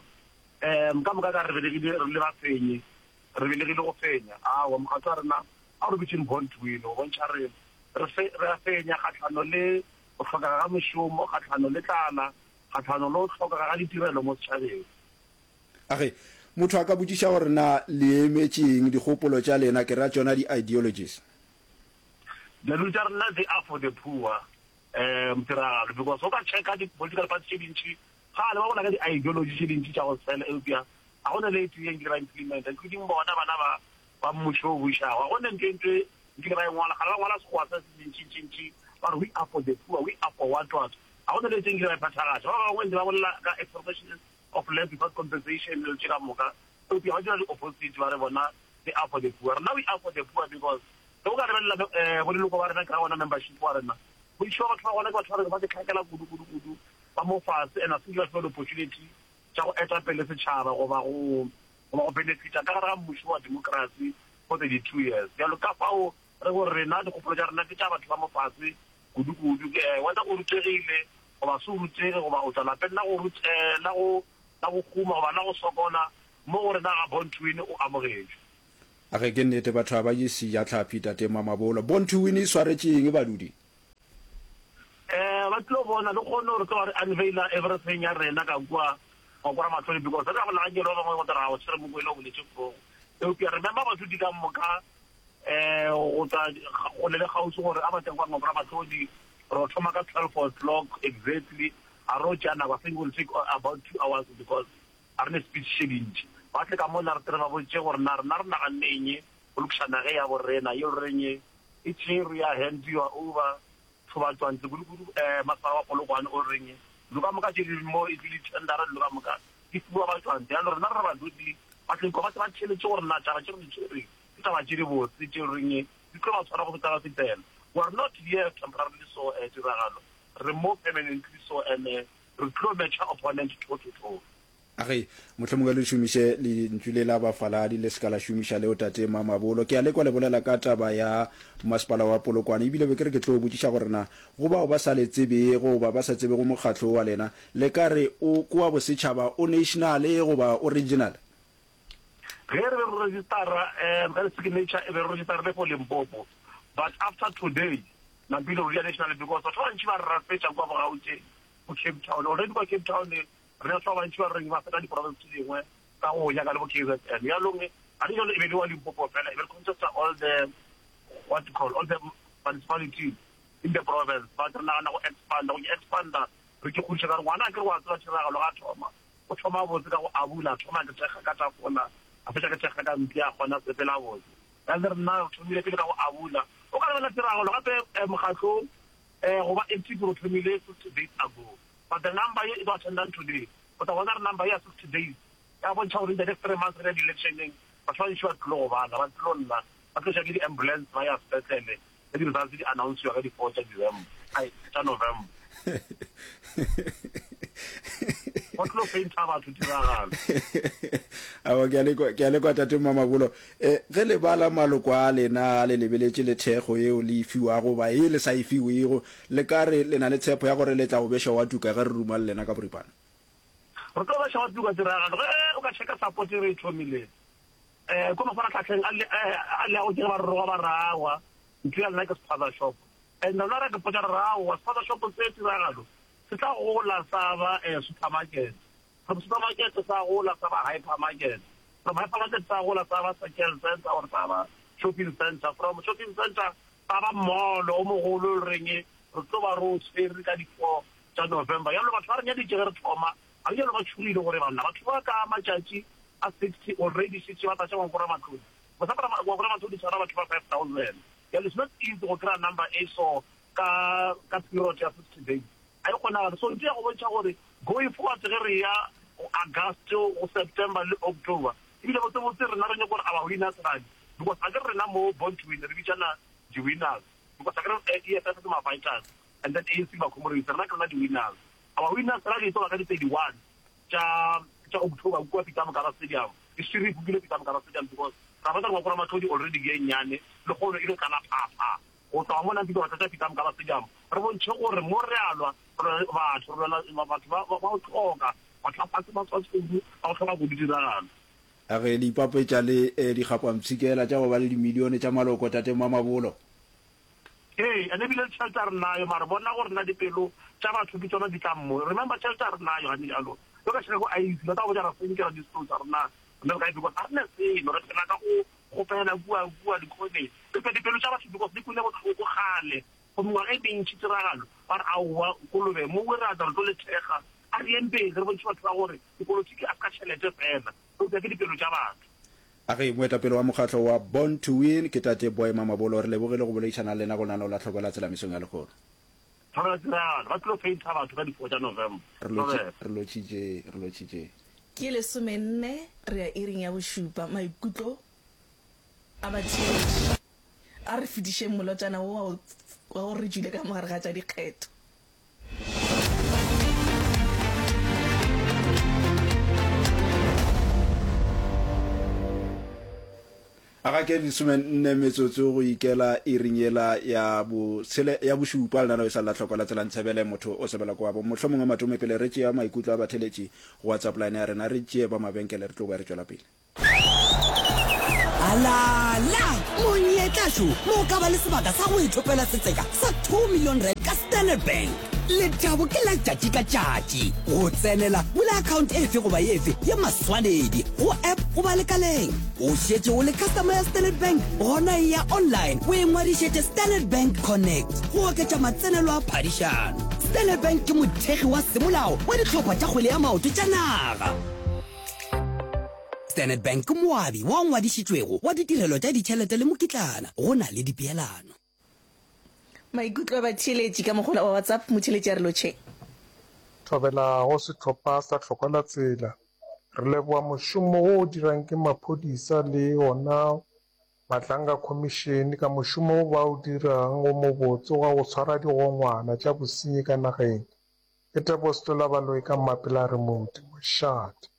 um ka moka ka re belegile re le bafenyi re belegile go fenya awa mokgatlo wa rena a re bitšeng Born to Win go bontšha re re re a fenya kgatlhano le go hlokega ga mešomo kgatlhano le tlala kgatlhano le go hlokega ga ditirelo mo setšhabeng. A ge motho a ka botšiša gore na le emetšeng dikgopolo tša lena ke ra tšona di-ideologies? Dilo tša rena they are for the poor um tiragalo because o ka checka di-political party tše dintši gale ba bona ka di-ideology tše dintši tša go sela eupša ga go na le e tee nkile ba implementa including bona bana ba ba mmušo o bušago ga go ne ntho e ntwe nkile ba e ngwala gale ba ngwala sekgowa se se ntšintšintši ba re we are for the poor we are for what what ga go ne le e tee nkile ba e phethagatša. Ba bangwe ntse ba bolela ka expropriation of land without compensation le tše ka moka eupša ba dira di-opposite ba re bona they are for the poor. Rena we are for the poor because ge o ka lebelela um bo leloko ba rena ke ra bona membership wa rena Bontši bja batho ba gona ke batho ba reng ba ke kudu kudu kudu ba mo fase and a se ba fiwa di-opportunity tša go eta pele setšhaba goba go goba go benefita ka gare ga mmušo wa democracy for thirty-two years. Bjalo ka fao re gore rena dikgopolo tša rena ke tša batho ba mo fase kudu kudu, whether o rutegile goba se o rutege goba o tšwa lapeng la go la go la go huma goba la go sokola, mo go rena ga Born to Win o amogetšwe. A ge ke nnete batho ga ba je sejatlhapi tate Mamabolo. Born to Win e swaretše eng badudi? Eh ba tlo bona le kgone gore tlo ba re unveila everything ya rena ka kua Ngwako Ramahlodi because re ka go naganyelo ba bangwe go tla ra o tshwere Mokwele o boletše forogo eupša remember badudi ka moka eh go tla kgole le kgauswi gore a ba tle kwa Ngwako Ramahlodi re thoma ka twelve o'clock exactly a ro tšea nako I think will take about two hours because a re ne speech tše dintši ba tle ka mola re tle re ba botše gore na rena re naganne eng go lokiša nage ya borena ye reng e tšerwe ya handiwa over thobatšwantle kudu-kudu um masepala wa Polokwane o reng dilo ka moka tše di mo e tlile tendera dilo ka moka di fiwa batšwantle jalo rena re re badudi ba tleng kwa ba ba theeletše gore na taba tše re di tshwereng ke taba tše di botse tše reng di tlo ba tshwara go feta ba fetela. We are not here temporarily so uh, tiragalo re mo permanently so and uh, re tlo matcha opponent toe to toe. A ge mohlomongwe le šomiše lentšu le la bafaladi, le se ka la šomiša leo Tate Mamabolo. Ke a le kwa le bolela ka taba ya masepala wa Polokwane, ebile be ke re ke tlo botšiša gore na go bao ba sa le tsebego goba ba sa tsebego mokgatlo wo wa lena, le ka re o ke wa bosetšhaba, o national goba o regional? Ge re be re registera, um ka di-signature e be re registerile for Limpopo, but after today nampile re ya national because batho ba bantši ba re rafetša kua bo Gauteng, bo Cape Town. Already kwa Cape Town re batho ba bantši ba reng ba feta di-province tse dingwe ka go nyaka le bo K Z N. Bjalong ga di jalo e be le wa Limpopo fela, e be re contesta all the what you call all the municipalities in the province, but re nagana go expanda, go expanda re ke kgodiša ka gore ngwana a ke re wa tseba tiragalo ga thoma o thoma botse ka go abula, a thoma ke thekga ka tafola, a fetša ke thekga ka mpša, a kgona sepela botse. Bjale re nna re thomile pele ka go abula. O ka lebelela tiragalo gape mokgatlong go ba active re thomile sixty days ago, but the number ye e tlo attendang today o tla bona re number ya sixty days ya bontšha gore in the next three months re ya di-electioneng batho ba bantši ba tlilo go bala, ba tlilo lla, ba tlo tša ke di-ambulance ba ya sepetlele ge di-results di announce-iwa ka di-four tša December, ai tša November. Go tlo fainta batho tiragalo. Aowa, ke a le kwa, ke a le kwa Tate Mamabolo. Eh, ge le bala maloko a lena le lebeletše le thekgo yeo le e fiwago goba ye le sa e fiwego, le ka re le na le tshepo ya gore le tla go beša wa tuka ge re ruma le lena ka boripana? Re tlo beša wa tuka tiragalo. Ge o ka checka support e re e thomileng, eh, ko mafaratlhatlheng a le, eh, a leago ke ge ba re roga ba re aowa, ntho ya lena ke spaza shop. And rena ra ke potša re re aowa, spaza shop se tiragalo se tla gola sa ba eh, supermarket. From supermarket sa gola sa ba hypermarket. From hypermarket sa gola sa ba circle center or sa ba shopping center. From shopping center sa ba mall o mogolo e reng re tlo ba re o tshwere ka di-four tša November. Jalo batho ba re nyaditše ge re thoma, ga bjalo ba tšhogile gore banna batho ba ka matšatši a sixty already šetše ba tlatša Ngwako Ramatlhodi. Ngwako Ramatlhodi tshwara batho ba five thousand. Jalo it's not easy go kry-a number e so ka ka period ya sixty days. Ga e kgonagale. So ntho ya go bontšha gore going forward ge re ya go August, go September le October, ebile botsebotse rena re nyaka gore our winners rally, because a ke re rena mo Born to Win re bitšana di-winners, because a ke re E F F ke ma-fighters and then A N C ba-comrades, rena ke rena di-winners. Our winners rally e tlo ba ka di thirty-one tša tša October kua Peter Mokaba Stadium. E šetše re e bookile Peter Mokaba Stadium because ra bona gore Ngwako Ramatlhodi already ke e nnyane le kgono e tlo tlala phapha. Go tloga mo Nampi ba tlatša Peter Mokaba Stadium, re bontšhe gore mo re a lwa, re lwa le batho, re lwela batho ba ba go hloka, batho ba fase ba kudu, ba go hloka kudu tiragalo. A ge le ipapetša le dikgapampshikela tša go ba le dimilione tša maloko, Tate Mamabolo? Ee, and ebile le tšhelete a re nayo, mara bona gore na dipelo tša batho ke tšona di tlang mo. Remember tšhelete a re nayo gane bjalo. Yo ka šeka ko I E C, ba tla go botša ra senkela di-disclosure rena rena re kae because ga re ne selo, re phela ka go kgopela kua kua dikhoneng. Eupša dipelo tša batho because di kwele bohloko kgale for mengwaga e mentši tiragalo, ba re aowa kolobe mo re a tla re tlo le thekga, a re yeng pele re bontšhe batho ba gore dipolotiki a se ka tšhelete fela, eupša ke dipelo tša batho. A ge moetapele wa mokgatlo wa Born to Win ke Tate Boy Mamabolo, re lebogile go boledišana le lena go lenaneo la Tlhoko la Tsela mesong ya lehono. Thobela tiragalo, ba tlilo painter batho ka di four tša November. Re lotši, Thobela. re lotšitše, re lotšitše. Ke lesomenne re ya iring ya bošupa. Maikutlo a batheeletši A re fetišeng molotšana wo wa wa gore re tšwile ka mogare ga tša dikgetho. A ga ke lesomenne metsotso go ikela iring yela ya botshele ya bošupa lenaneo e sa la hloko la tsela ntshebele motho o sebela kwa bo mohlomongwe matome pele re tšea maikutlo a batheletši go WhatsApp line ya rena re tšee ba mabenkele re tlo boya re tšwela pele. Alala! Monyetla šo mo o ka ba le sebaka sa go ithopela setseka sa two million rand ka Standard Bank. Lethabo ke la tšatši ka tšatši. Go tsenela, bula account efe goba efe ye maswanedi go app goba lekaleng. O šetše o le customer ya Standard Bank? Gona eya online o ingwadišetše Standard Bank Connect go oketša matsenelo a phadišano. Standard Bank ke mothekgi wa semolao wa dihlopha tša kgwele ya maoto tša naga. Standard Bank ke moabi wa ngwadišitšwego wa ditirelo tša ditšhelete le mokitlana go na le dipeelano. Maikutlo a batheeletši ka mogola wa WhatsApp, motheeletši a re lotšheng. Thobela go sehlopha sa Hlokolatsela. Re leboga mošomo wo o dirang ke maphodisa le yona Matlanga Khomišene ka mošomo wo ba o dirang wo mobotse wa go tshwara digongwana tša bosenyi ka nageng. Ke Tebogo Setola Baloyi ka Mmapela Remote, Mošate.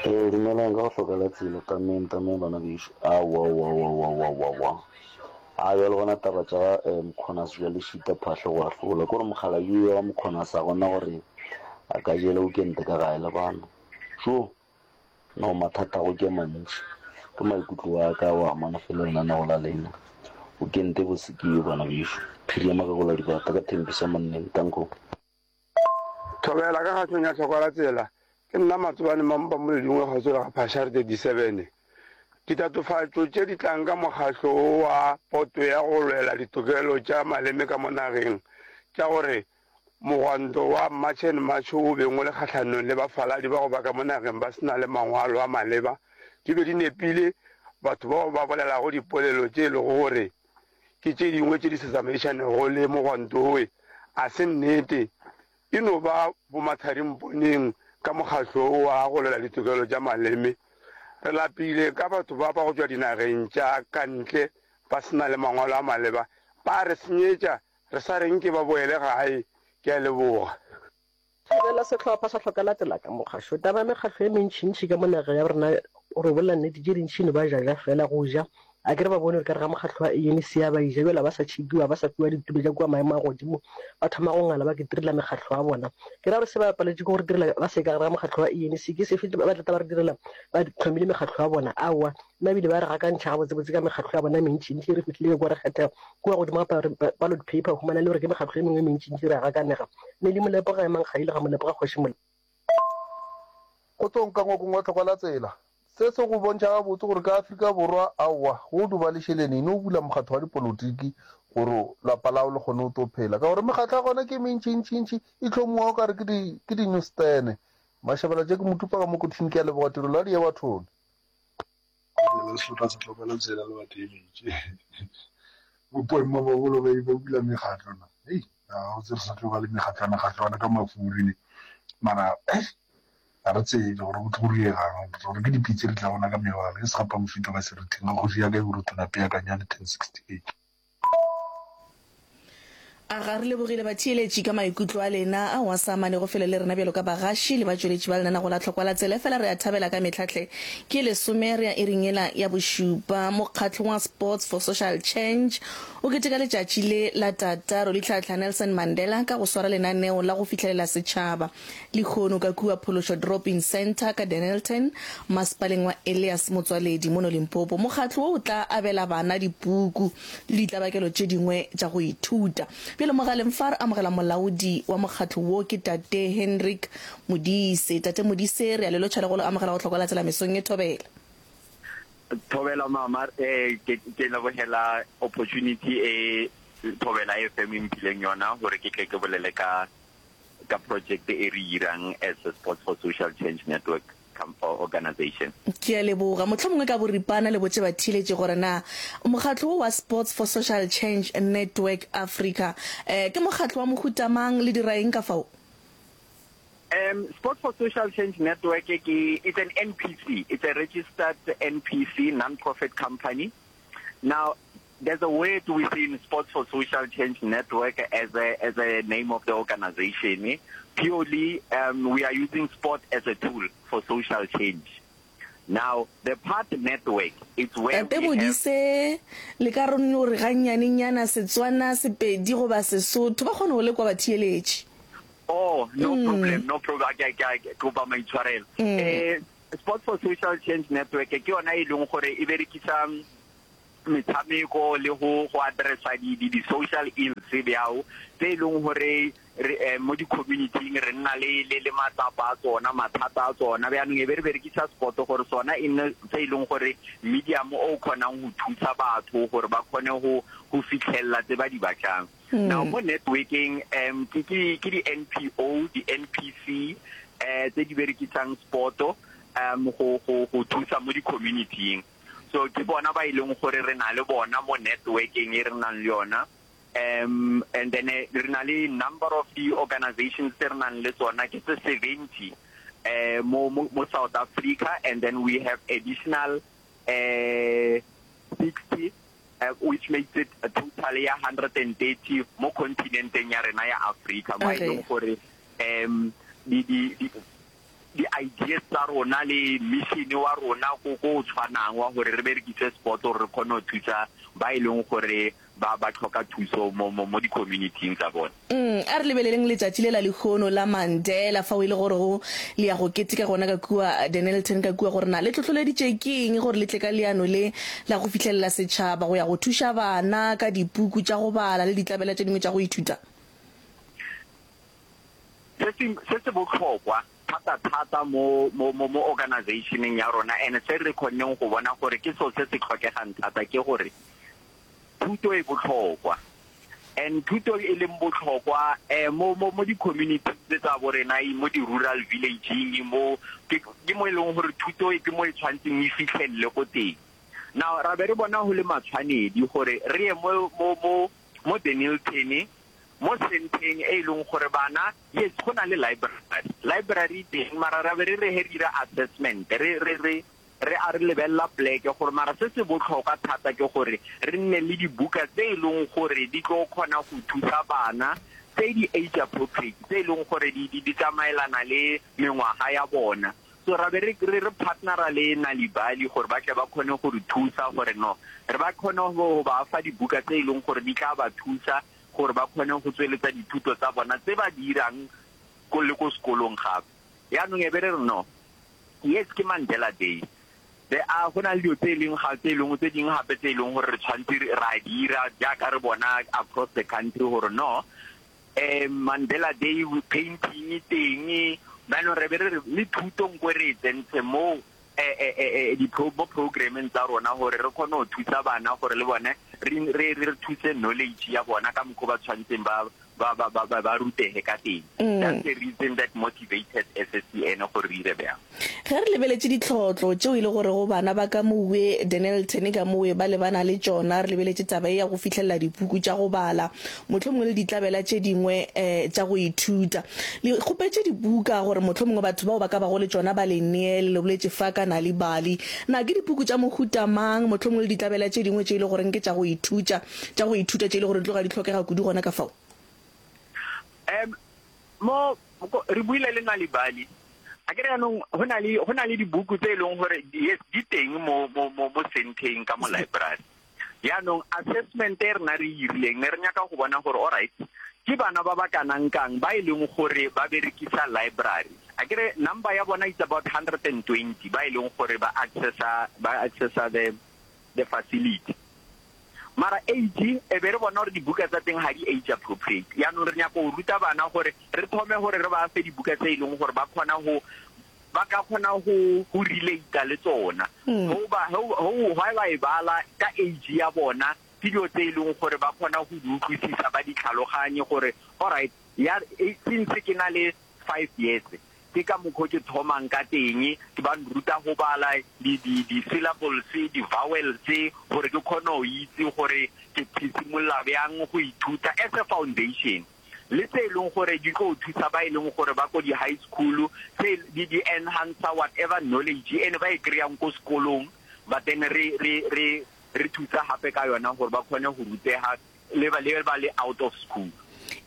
Ee, dumelang ka go hloka la tsela tameng tameng bana bešo aowa aowa aowa aowa aowa aowa aowa a bjale gona taba tša ga eh, mokgonase jwa le šita phahlo go ahlola kore mokgalabje wa mokgonase a gona gore a ka jela weekend ka gae le bana jo no mathata go ke mantši ke maikutlo a ka wa amana fela lenanego la lena weekend e bose ke yo bana bešo phiri ya magagola dibata ka thembisa monneng tanko Thobela ka kgahlong ya tlhoko la tsela. Ke nna Matsobane Mampa Moledingwe kgauswi le ga Phashare thirty seven. Ditatofatšo tše di tlang ka mokgahlo wo wa Poto ya go lwela ditokelo tša maleme ka mo nageng tša gore mogwanto wa March and March o beng o le kgahlanong le bafaladi ba go ba ka mo nageng ba se na le mangwalo a maleba di be di nepile. Batho bao ba bolelago dipolelo tše e lego gore ke tše dingwe tše di sa tsamaišanego le mogwanto wowe a se nnete. E no ba bomatharimponeng ka mokgahlo wo wa go lwela ditokelo tša maleme. Re lapile ka batho ba ba go tšwa dinageng tša ka ntle ba se na le mangwalo a maleba. Ba a re senyetša, re sa re nke ba boele gae. Ke a leboga. Thabela sehlopha sa Hlokalatsela ka mokgašo. Taba ya mekgahlo e mentšintši ka mo nageng ya rena, gore o bolela nnete, tše dintši no ba ja ja fela go ja. A ke re ba bone gore ka re ga mokgahlo wa A N C a ba eja, bjale ba sa tšhekiwa, ba sa fiwa ditulo tša kua maemo a godimo, ba thoma go ngala ba ke direla mekgahlo ya bona. Ke ra gore se ba paletše ke go re direla ba se ka gare ga mokgahlo wa A N C, ke sefe ba tla ta ba re direla ba hlomile mekgahlo ya bona? Aowa, nna ebile ba re gakantšha gabotsebotse ka mekgahlo ya bona e mentšintši e re fihlile kua re kgetha kua godimo ga ballot paper, o humana le gore ke mekgahlo e mengwe e mentšintši re a gakanega. Nelly Molepo ga emang Kgaile ga Molepo ga Kgoši Molepo. Kgotsong ka ngwakong wa tlhokwa la tsela. Se se go bontšha gabotse gore ka Afrika Borwa, aowa, go duba le šeleni, no bula mokgatho wa dipolotiki gore lapa lao le kgone go tlo phela. Ka gore mekgatlo ya gona ke e mentšintšintši, e hlomiwa o ka re ke di, ke di-newsstand. Mašabela tše ke motupa ka mo kothing, ke a leboga tirelo ya diabathone. Bolela sehlopha sa tlhokwa la tsela le batheeletši. Bopoema ba bolo ba ba bula mekgatlo na. Hei, ga go tse re sa tlo ba le mekgatlwana-kgatlwana ka mafuri ne. Mara eh ga re tsebe gore go tlo diegang gore ke dipitse di tla bona ka mebala ke segapa mofito ka seretheng ga kgoši ya ka e borutho peakanyane ten sixty eight. A ga re lebogile batheeletši ka maikutlo a lena ao a sa amanego felo le rena bjalo ka bagaši le batšweletši ba lenanego la Tlhokwa la Tsela. Efela re a thabela ka mehla hle. Ke lesome re ya iring yela ya bošupa. Mokgatlo wa Sports for Social Change o keteka letšatši le la Tata Rolihlahla Nelson Mandela ka go swara lenaneo la go fihlelela setšhaba lehono ka kua Phološo Drop-in Centre ka Dennilton, masepaleng wa Elias Motswaledi mono Limpopo. Mokgatlo wo o tla abela bana dipuku le ditlabakelo tše dingwe tša go ithuta. Bjale mogaleng fa re amogela molaodi wa mokgatlo wo ke Tate Hendrik Modise. Tate Modise, re a le lotšha le go le amogela go Tlhokwa la Tsela mesong ye. Thobela. Thobela mama, eh ke ke lebogela opportunity e Thobela F M e mphileng yona gore ke tle ke bolele ka ka project e re irang as a Sports for Social Change Network organization. Ke a leboga. Mohlomongwe ka boripana le botše batheeletši gore na mokgatlo wo wa Sports for Social Change Network Africa eh ke mokgatlo wa mohuta mang, le dira eng ka fao? Um, Sports for Social Change Network ke, it's an N P C, it's a registered N P C, non-profit company. Now, there's a word within Sports for Social Change Network as a, as a name of the organization. Purely, um, we are using sport as a tool for social change. Now, the part network, it's where Tate we have... Modise, le ka re no re gannyanenyana Setswana, Sepedi goba Sesotho, ba kgone go le kwa batheeletši. Oh, no mm. problem, no problem. Ke ke ke kopa maitshwarelo. Mm. Eh, Sports for Social Change Network ke yona e leng gore e berekisa metshameko le go go addressa di di social ills bjao tse e leng gore re eh, mo di-communityng re nna le le le matsapa a tsona mathata a tsona bjaanong e be re berekisa sport gore sona e nne se e leng gore medium o kgonang go thusa batho gore ba kgone go go fitlhelela tse ba di batlang mm. Now mo networking um ke ke ke di-N P O, di-N P C eh tse di berekisang sport um go go go thusa mo di-communityng. So ke bona ba e leng gore re na le bona mo networking e re nang le yona um and then eh, re na le number of the organizations tse re nang le tsona ke tse seventy eh mo mo mo South Africa, and then we have additional eh sixty, uh, which makes it a total ya one hundred thirty mo continenteng ya rena ya Africa, mo e Okay. leng gore um di di di di-ideas tsa rona le mission wa rona ko ko o tshwanang wa gore re berekise sport gore re kgone go thusa ba e leng gore ba ba tlhoka thuso mo mo mo di-communityng tsa bone. Mm, a re lebeleleng letšatši le la lehono la Mandela fa o ile gore go le ya go keteka gona ka kua Dennilton ka kua, gore na le tlhotlholeditše ke eng gore le tle ka leano le la go fihlelela setšhaba go ya go thuša bana ka dipuku tša go bala le ditlabela tše dingwe tša go ithuta? se se se se botlhokwa thata thata mo mo mo mo organizationeng ya rona and se re kgonneng go bona gore ke seo se se tlhokegang thata ke gore thuto e botlhokwa, and thuto e leng botlhokwa eh mo mo mo di-community tse tsa bo rena, mo di-rural villageng, mo ke ke mo e leng gore thuto e ke mo e tshwantseng e fitlhelele ko teng. Now ra be re bona go le matshwanedi gore re ye mo mo mo mo Dennilton, mo centeng e leng gore bana, yes, go na le library library teng, mara ra be re re he dira assessment, re re re re a re lebelela pleke gore mara se se botlhokwa thata ke gore re nne le dibuka tse e leng gore di tlo kgona go thusa bana, tse di age appropriate, tse e leng gore di di di tsamaelana le mengwaga ya bona. So ra be re re re partnera le Nalibali gore ba tle ba kgone go re thusa gore no re ba kgone go ba fa dibuka tse e leng gore di tla ba thusa gore ba kgone go tsweletsa dithuto tsa bona tse ba di dirang ko le ko sekolong gape. Yaanong e be re re no, yes, ke Mandela Day, there are go na le dilo tse e leng ga tse e leng tse dingwe gape tse e leng gore re tshwanetse ra dira jaaka re bona across the country gore no um Mandela Day painting teng. Jaanong re be re re le thuto nkwe re e tsentse mo eh, eh, eh, di mo programmeng tsa rona gore re kgone go thusa bana gore le bone re re re thuse knowledge ya bona ka mokgwa ba tshwanetseng ba ba ba ba ba rutege ka teng. Mm. That's the reason that motivated S S C N gore re dire bjang. Ge re lebeletše ditlhotlo tšeo e le gore go bana ba ka mowe Dennilton ka mowe ba lebana le tšona, re lebeletše taba e ya go fihlelela dipuku tša go bala, mohlomongwe le ditlabela tše dingwe um tša go ithuta, le kgopetše dibuka gore mohlomongwe batho bao ba ka bago le tšona ba le neele. Le boletše fa ka Nalibali, na ke dipuku tša mohuta mang, mohlomongwe le ditlabela tše dingwe tše e le goreng ke tša go ithuta tša go ithuta tše e le gore di tloga di tlhokega kudu gona ka fao? um mo re buile le Nalibali a kere yaanong go na le go na le dibuku tse e leng gore yes, di teng mo mo mo mo centeng ka mo library. Yaanong assessment e rena re e irileng, ne re nyaka go bona gore alright, ke bana ba ba kanang kang ba e leng gore ba berekisa library. A kere number ya bona is about one hundred twenty ba e leng gore ba accessa ba accessa the the facility, mara age e be re bona gore dibuka tsa teng ga di age appropriate. Yaanong re nyaka go ruta bana gore re thome gore re ba fe dibuka tse e leng gore ba kgona go ba ka kgona go go relate le tsona Mm. go ba go ba e bala ka age ya bona, ke dilo tse e leng gore ba kgona go di utlwisisa, ba di tlhaloganye gore alright, ya e- since ke na le five years ke ka mokgwa ke thomang ka teng, ke ba nruta go bala di di di syllables, di vowels, gore ke kgone go itse gore ke ke simolola bjang go ithuta as a foundation, le tse e leng gore di tlo thusa ba e leng gore ba ko di high school, tse di di enhancer whatever knowledge ene ba e kry-ang ko sekolong, but then re re re Re thusa gape ka yona gore ba kgone go rutega le ba le ba le out of school.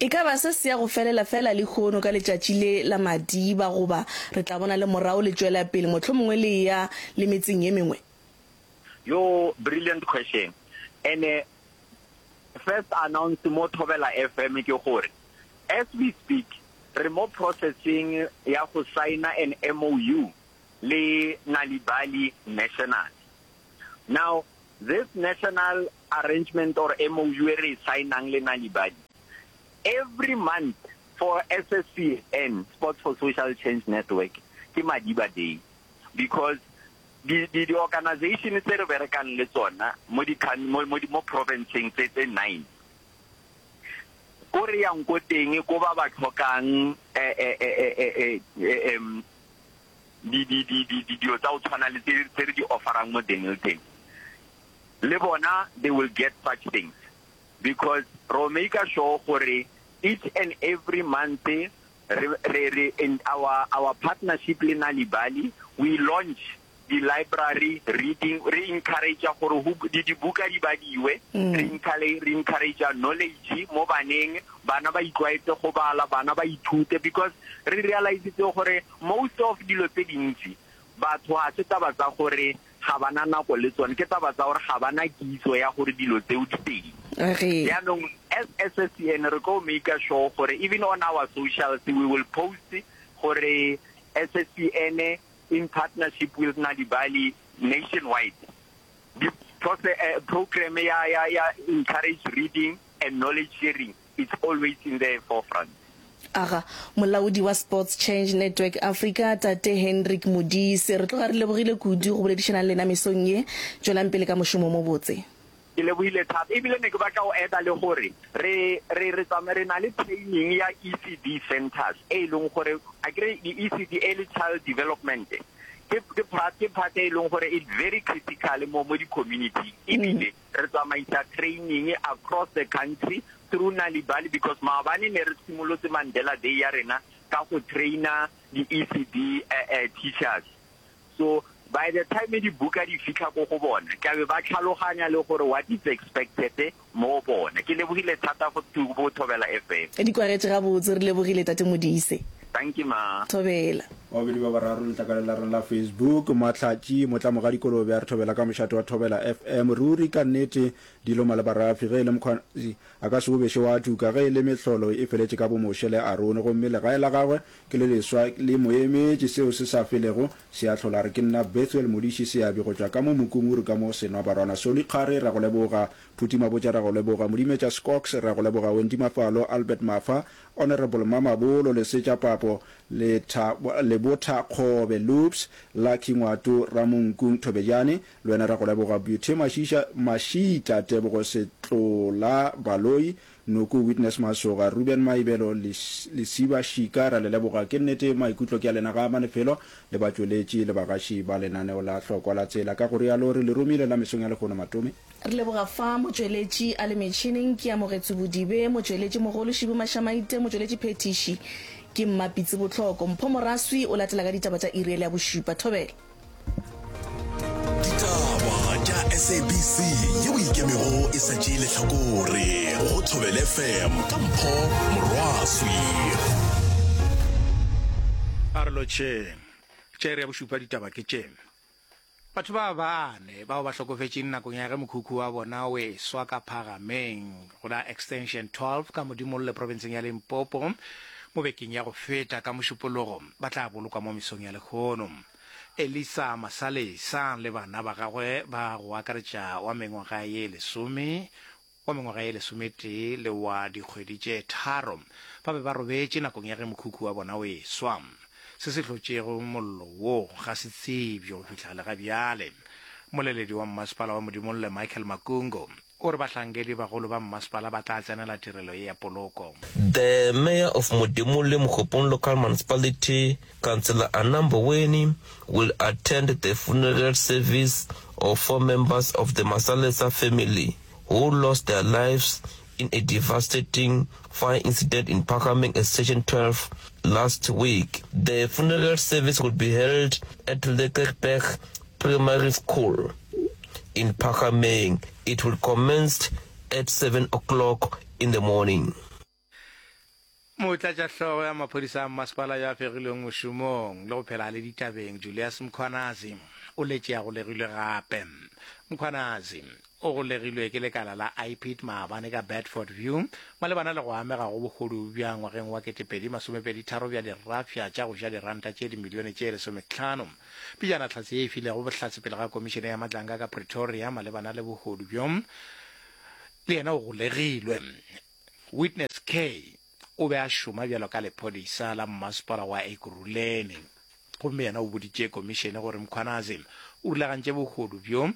E ka ba se se ya go felela feela lehono ka letšatši le la Madiba goba re tla bona le morago le tšwela pele mohlomongwe le eya le metseng ye mengwe? Yo brilliant question. Ene first announce mo Thobela F M ke gore as we speak re mo processing ya go signa an M O U le Nal'ibali National. Now this national arrangement or M O U e re e signang le Nal'ibali, every month for S S C N, Sports for Social Change Network, ke Madiba Day, because di, di, di organization tse re berekang le tsona mo di, mo, mo, mo provinceng tse, tse nine, ko re yang ko teng ko ba ba tlhokang, eh, eh, eh, eh, eh, eh, eh, em, di, di, di, di, di, dilo tsa go tshwana le tse, tse re di offerang mo Dennilton, le bona they will get such things, because ro make sure gore each and every month re, re, re, in our, our partnership le Nal'ibali, we launch the library reading, re encourage gore ho di dibuka di badiwe, Mm. re encourage, re encourage knowledge mo baneng, bana ba itlwaetse go bala, bana ba ithute, because re realize gore most of dilo tse dintsi batho ha se taba tsa gore ga bana nako le tsone, ke taba tsa gore ga bana kitso ya gore dilo tseo di teng. Re. Jaanong as S S C N re tlo make sure gore even on our socials we will post gore S S C N in partnership with Nal'ibali nationwide the process, uh, program ya, ya, ya encourage reading and knowledge sharing, it's always in the forefront. Aga, molaodi wa Sports Change Network Africa, Tate Hendrik Modise, re tloga re lebogile kudu go boledišana le lena mesong ye. Tšwelang pele ka mošomo mo botse. Ke lebohile thata. Ebile ne ke batla go add-a le gore re, re, re tsamaya re na le training ya E C D centers e leng gore a kere di E C D early child development ke, ke part, ke part e leng gore it's very critical mo, mo di community. Ebile re tsamaisa training across the country through Nal'ibali, because maabane ne re simolotse Mandela Day ya rena ka go traina di E C D, eh, eh, teachers. So by the time di buka di fitlha ko go bona, ka be ba tlhaloganya le gore what is expected mo bona. Ke lebogile thata go tu-, go Thobela F M. Di kwagetše gabotse, re lebogile Tate Modise. Thank you ma. Thobela. Babedi ba bararo letlakaleng la rena la Facebook, Mahlatši Motlamoga Dikolobe a re thobela ka mošate wa Thobela F M. Ruri ka nnete dilo malebarafi, ge e le mokgwa a ka se o bešo wa tuka, ge e le mehlolo e feletše ka boMoshe le Arone, gomme legae la gagwe ke le leswa le mo emetše, seo se sa felego se a hlola. Re ke nna Bethuel Modiši Seabi go tšwa ka mo Mokunguru ka mo Senwabarwana. Soli Kgare ra go leboga, Phuti Mabotja ra go leboga, Modimetša Scox ra go leboga, Wendy Mafalo, Albert Mafa, Honorable Mamabolo, Lesetša Papo, Letha, Lebotha Kgobe, Loops, Lucky Ngwato, Ramonkung Thobejane, le wena ra go leboga, Beauty Mashiša, Mashita, Tebogo Setlola, Baloi, Noko Witness Masoga, Ruben Maibelo, Les-, Lesiba Shika, ra le leboga. Ke nnete maikutlo ke a lena ga manefelo le batšweletši le bagaši ba lenaneo la hlokwa la tsela. Ka go rialo re le romile la mesong ya lehono Matome. Re leboga fa motšweletši a le metšhineng ke Amogetse Bodibe, motšweletši mogolo Šibu Mašamaite, motšweletši Phetiši ke Mmapitsi Botlhoko. Mpho Moraswi o latela ka ditaba tša iri ya bošupa. Thobela. Ditaba tša S A B C yeo e ikemego e sa tšee lehlakore go Thobela F M ka Mpho Morwaswi. A re lotšheng. Tša iri ya bošupa ditaba ke tše. Batho ba bane bao ba hlokofetšeng nakong ya ge mokhukhu wa bona o eswa ka Phagameng go la Extension twelve ka Modimolle provinseng ya Limpopo mo bekeng ya go feta ka Mošupologo ba tla bolokwa mo mesong ya lehono. Elisa Masalesa le bana ba gagwe ba go akaretša wa mengwaga ye lesome, wa mengwaga ye lesometee le wa dikgwedi tše tharo ba be ba robetše nakong ya ge mokhukhu wa bona o eswa. Se se hlotšego mollo wo ga se tsebje go fihla le ga bjale. Moleledi wa mmasepala wa Modimolle Michael Makungo o re bahlankedi bagolo ba mmasepala ba tla tsenela tirelo ye ya poloko. The mayor of Modimolle Mookgophong Local Municipality, Councillor Anambo Weni, will attend the funeral service of four members of the Masalesa family who lost their lives in a devastating fire incident in Phakameng Extension twelve last week. The funeral service will be held at Lekkerberg Primary School. in Phahameng. It will commence at seven o'clock in the morning. Motlatšahlogo ya maphodisa a mmasepala yo a fegilweng mošomong le go phela a le ditabeng, Julius Mkhwanazi, o letše a golegilwe gape. Mkhwanazi o golegilwe ke lekala la I P I D maabane ka Bedford View malebana le go amega go bohodu bja ngwageng wa ketepedi masomepedi tharo bja dirafša tša go ja diranta tše dimilione tše lesomehlano. Pejana hlatse ye e filego bohlatse pele ga komišene ya Madlanga ka Pretoria malebana le bohodu bjo le yena o golegilwe. Witness K o be a šoma bjalo ka lephodisa la mmasepala wa Ekurhuleni gomme yena o boditše komišene gore Mkhwanazi o rulagantše bohodu bjo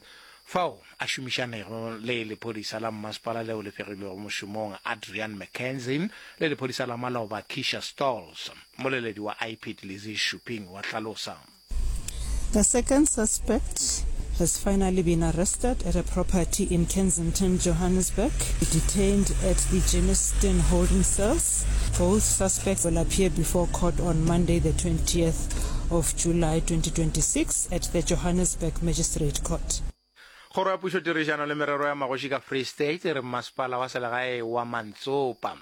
fao a šomišanego le lephodisa la mmasepala leo le fegilwego mošomong Adrian McKenzie le lephodisa la maloba Keisha Stolz. Mmoleledi wa I P I D Lizzie Shuping wa hlalosa. The second suspect has finally been arrested at a property in Kensington, Johannesburg, detained at the Germiston holding cells. Both suspects will appear before court on Monday, the twentieth of July twenty twenty-six at the Johannesburg Magistrate Court. Kgoro ya Pušo Tirišano le Merero ya Magoši ka Free State e re mmasepala wa selegae wa Mantsopa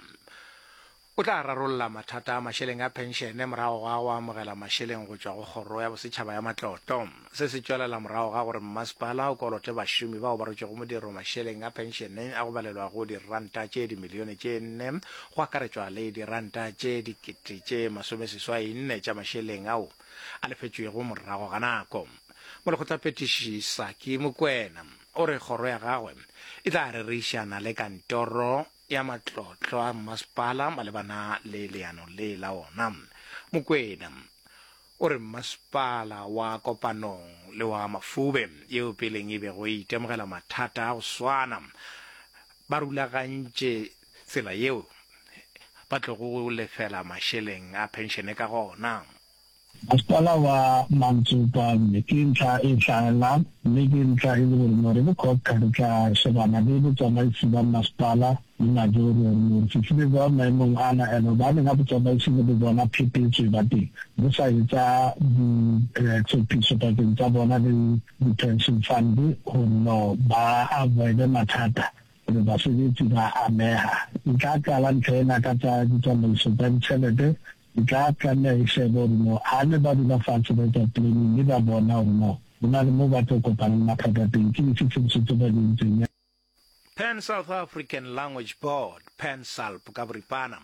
o tla rarolla mathata a mašeleng a phenšene morago ga go amogela mašeleng go tšwa go Kgoro ya Bosetšhaba ya Matlotlo. Se se tšwelela morago ga gore mmasepala o kolote bašomi bao ba rotšego modiro mašeleng a phenšene a go balelwa go diranta tše dimilione tše nne go akaretšwa le diranta tše dikete tše masomeseswai nne tša mašeleng ao a lefetšwego morago ga nako. Molekgotlaphethiši Saki Mokoena o re kgoro ya gagwe e tla rerišana le kantoro ya matlotlo a mmasepala malebana le leano le la ona. Mokoena o re mmasepala wa Kopanong le wa Mafube yeo peleng e bego e itemogela mathata a go swana ba rulagantše tsela yeo ba tlogo go lefela mašeleng a phenšene ka gona. Masepala wa Mantsopa mme ke ntlha e hlahellang mme ke ntlha e le gore no re le COGTA re tla shebana le botsamaisi ba masepala le majoro gore no re fihlile jwang maemong ana and hobaneng ha botsamaisi le bo bona phephetso e ba teng bo sa etsa ditshephiso pakeng tsa bona le di-pension fund gore no ba avoide mathata gore basebetsi ba ameha. E tla qala ntho ena ka tsa ditsamaiso tsa ditjhelete e tla tlameha e shebe gore no ha ne ba dula fatshe ba etsa planning mme ba bona gore no ho na le mo ba tlo kopana le mathata teng ke dife tshebediso tse ba di entseng. Pan South African Language Board, PanSALB ka boripana,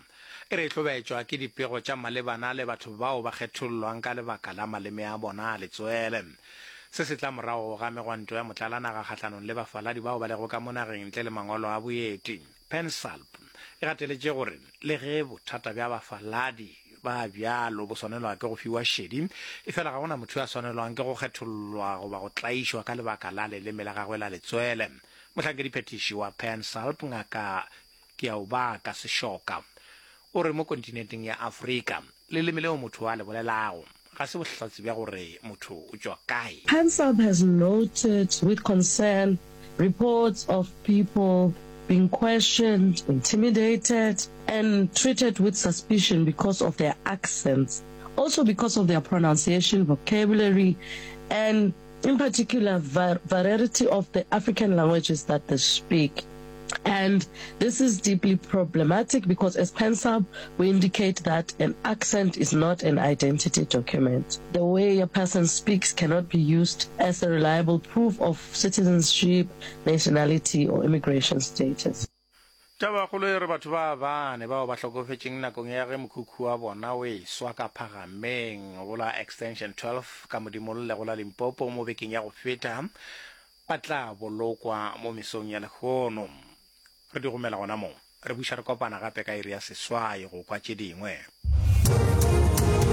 e re e hlobetšwa ke dipego tša malebana le batho bao ba kgethollwang ka lebaka la maleme a bona a letswele. Se se tla morago ga megwanto ya motlalanaga kgahlanong le bafaladi bao ba lego ka mo nageng ntle le mangwalo a boeti. PanSALB e gateletše gore le ge bothata bja bafaladi ba bjalo bo swanelwa ke go fiwa šedi, efela ga go na motho yo a swanelwang ke go kgethollwa goba go tlaišwa ka lebaka la leleme la gagwe la letswele. Mohlankediphethiši wa PanSALB, Ngaka Keaobaka Seshoka, o re mo kontinenteng ya Afrika, leleme leo motho a le bolelago ga se bohlatse bja gore motho o tšwa kae. PanSALB has noted with concern reports of people being questioned, intimidated, and treated with suspicion because of their accents, also because of their pronunciation, vocabulary, and in particular variety of the African languages that they speak. And this is deeply problematic because as PanSALB, we indicate that an accent is not an identity document. The way a person speaks cannot be used as a reliable proof of citizenship, nationality or immigration status. Tabakgolo e re batho ba bane bao ba hlokofetšeng nakong ya ge mokhukhu wa bona o eswa ka Phagameng go la Extension twelve ka Modimolle go la Limpopo mo bekeng ya go feta ba tla bolokwa mo mesong ya lehono. Re di gomela gona mo. Re buša re kopana gape ka iri ya seswai go kwa tše dingwe.